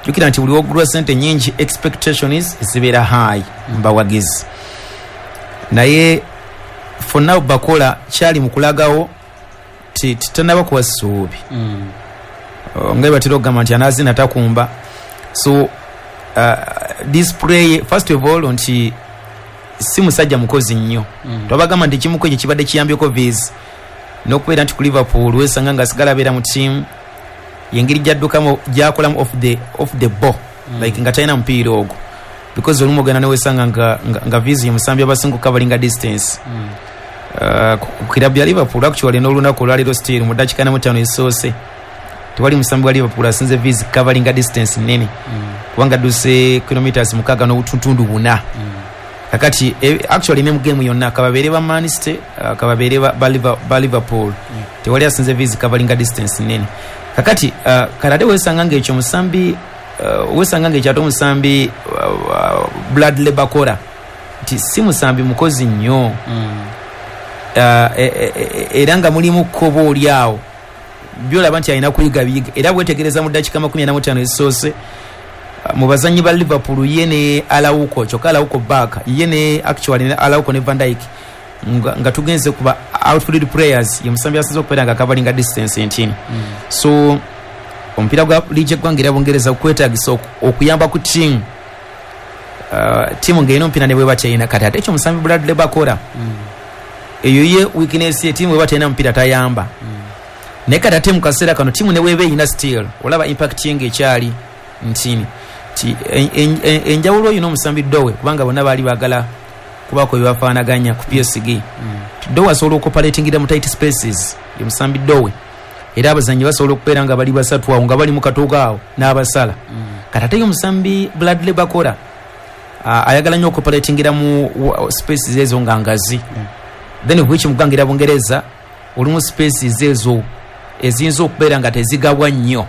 Speaker 4: Jjukira nti buli wogulwa sente nyingi expectations zibeera high mbawagizi, naye for now Barcola kyali mu kulagawo ti ti- tannaba kuwa ssuubi.
Speaker 1: Mm.
Speaker 4: Uh, nga batera okugamba nti anaazina takumba. So uh, display first of all nti si musajja mukozi nnyo.
Speaker 1: Mm.
Speaker 4: Twabagamba nti ekimu ku ekyo kibadde kiyambyeko Viz n'okubeera nti ku Liverpool wesanga nga asigala abeera mu ttiimu yengeri gyaddukamu gyakolamu off the, off the ball.
Speaker 1: Mm.
Speaker 4: Like nga talina mupiira ogwo, because olumu ogenda newesanga nga, nga, nga Viz ye musambi abasinga okucoveringa distance.
Speaker 1: Mm.
Speaker 4: Uh, ku ku kirabu ya Liverpool actually n'olunaku olwaleero still mu ddakiika na mu ttaano ezisoose tewali musambi wa Liverpool asinze Viz coveringa distance nnene,
Speaker 1: Mm.
Speaker 4: kubanga adduse kilometers mukaaga n'obutuntundu buna.
Speaker 1: Mm.
Speaker 4: Kakati eh, actually ne mu game yonna kababeere ba Man City, uh, kababeere ba, ba, Liver- ba Liverpool,
Speaker 1: Yeah.
Speaker 4: tewali asinze Viz coveringa distance nnene. Kakati uh, kale ate wesanga ng'ekyo musambi uh, wesanga ng'ekyo ate omusambi uh, uh, Bradley Barcola nti si musambi mukozi nnyo.
Speaker 1: Mm.
Speaker 4: Uh, e- e- e- era nga mulimu kkobo oli awo byolaba nti alina kuyiga biyiga, era bwetegereza mu ddakiika makumi ana mu ttaano ezisoose uh, mu bazanyi ba Liverpool ye ne Araujo, kyokka Araujo back ye ne actually ne Araujo ne Van Dijk nga, nga tugenze kuba outfield players ye musambi asinze okubeera nga coveringa distance entini.
Speaker 1: Mm.
Speaker 4: So omupiira gwa liigi eggwanga era Bungereza kwetagisa oku- okuyamba ku ttiimu uh, ttiimu ng'erina omupiira ne bweba terina. Kati ate ekyo omusambi Bradley Barcola
Speaker 1: Mm.
Speaker 4: eyo ye weakness ye, ttiimu bweba terina mupiira tayamba.
Speaker 1: Mm.
Speaker 4: Naye kati ate mu kaseera kano ttiimu ne bweba erina still olaba impact ye ng'ekyali ntini ti en- en- en- enjawulo oyo n'omusambi Dowe, kubanga bonna baali baagala kubaako bye bafaanaganya ku P S G.
Speaker 1: Mm.
Speaker 4: Dowe asobola okupalatingira mu tight spaces, ye musambi Dowe, era abazannyi basobola okubeera nga bali basatu awo nga bali mu katuuka awo n'abasala.
Speaker 1: Mm.
Speaker 4: Kati ate ye omusambi Bradley Barcola uh, ayagala nnyo okupalatingira mu wa- spaces ezo nga ngazi.
Speaker 1: Yeah.
Speaker 4: Then which mugangira Bungereza olumu spaces ezo eziyinza okubeera nga tezigabwa nnyo,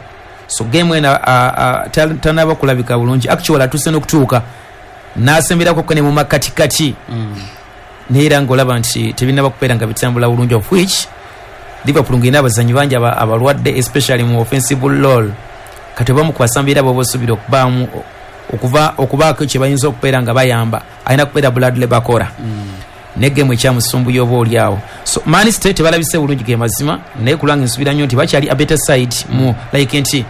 Speaker 4: so game eno tanaba kulabika bulungi. Actually atuuse n'okutuuka n'asemberako ne mu makatikati,
Speaker 1: Mm.
Speaker 4: naye era ng'olaba nti tebinnaba kubeera nga bitambula bulungi, of which Liverpool ng'erina abazannyi bangi aba- abalwadde especially mu offensive role. Kati obamu ku basambi era b'oba osuubira okubaamu okuva okubaako kye bayinza okubeera nga bayamba alina kubeera Bradley Barcola.
Speaker 1: Mm.
Speaker 4: Ne game ekyamusumbuye oba oli awo. So Man City tebalabise bulungi ge mazima, naye kulanga nsubira nnyo nti bakyali a better side mu like nti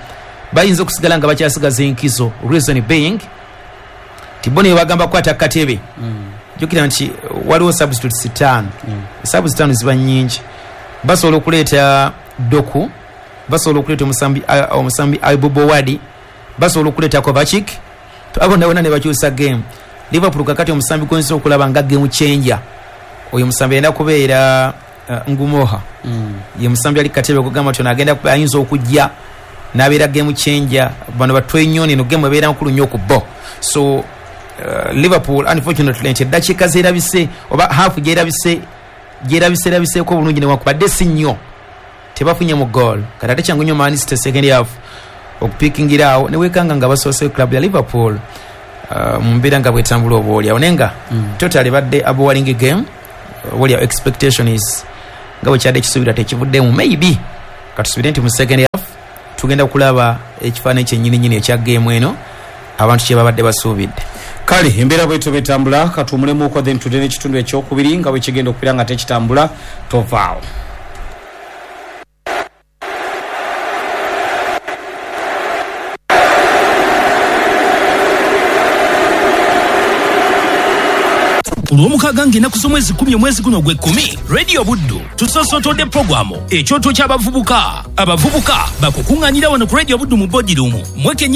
Speaker 4: bayinza okusigala nga bakyasigaza enkizo, reason being nti bo ne bagamba kukwata katebe. Jjukira nti waliwo substitutes ttaano. Substitutes ttaano ziba nnyingi. Basobola okuleeta Doku, basobola okuleeta omusambi omusambi Ayub Wadi, basobola okuleeta Kovacic, abo nabona ne bakyusa game. Liverpool kakati omusambi gwenza okulaba nga game changer oyo musambi alina kubeera uh, Ngumoha.
Speaker 2: Mm.
Speaker 4: Ye musambi ali katebe okugamba nti ono agenda ayinza okujja n'abeera game changer. Bano batwenyoni no game ebeera nkulu nnyo ku bo. So uh, Liverpool unfortunately nti eddakiika zeerabise oba half gyerabise gyerabise erabiseeko obulungi newankubadde si nnyo tebafunye mu goal. Kati ate kyangu nnyo Man City second half okupikingira awo ne weekanga nga basoose club ya Liverpool uh, mu mbeera nga bwetambula oba oli awo, naye nga
Speaker 2: Mm.
Speaker 4: totally badde a boring game. What your expectation is nga bwe kyadde kisuubira tekivuddemu. Maybe katusuubire nti mu second half tugenda kulaba ekifaananyi kyennyininyini ekya game eno abantu kye babadde basuubidde.
Speaker 2: Kale embeera bwetyo bwetambula, katuwumulemuko then tudde n'ekitundu ekyokubiri nga bwe kigenda okubeera nga tekitambula. Tovaawo.
Speaker 5: Olwomukaaga ng'ennaku z'omwezi kkumi omwezi guno ogw'ekkumi, Radio Buddu tusoosotodde puroguramu ekyoto ky'abavubuka. Abavubuka bakukuŋŋaanira wano ku Radio Buddu mu boardroom mwekenye.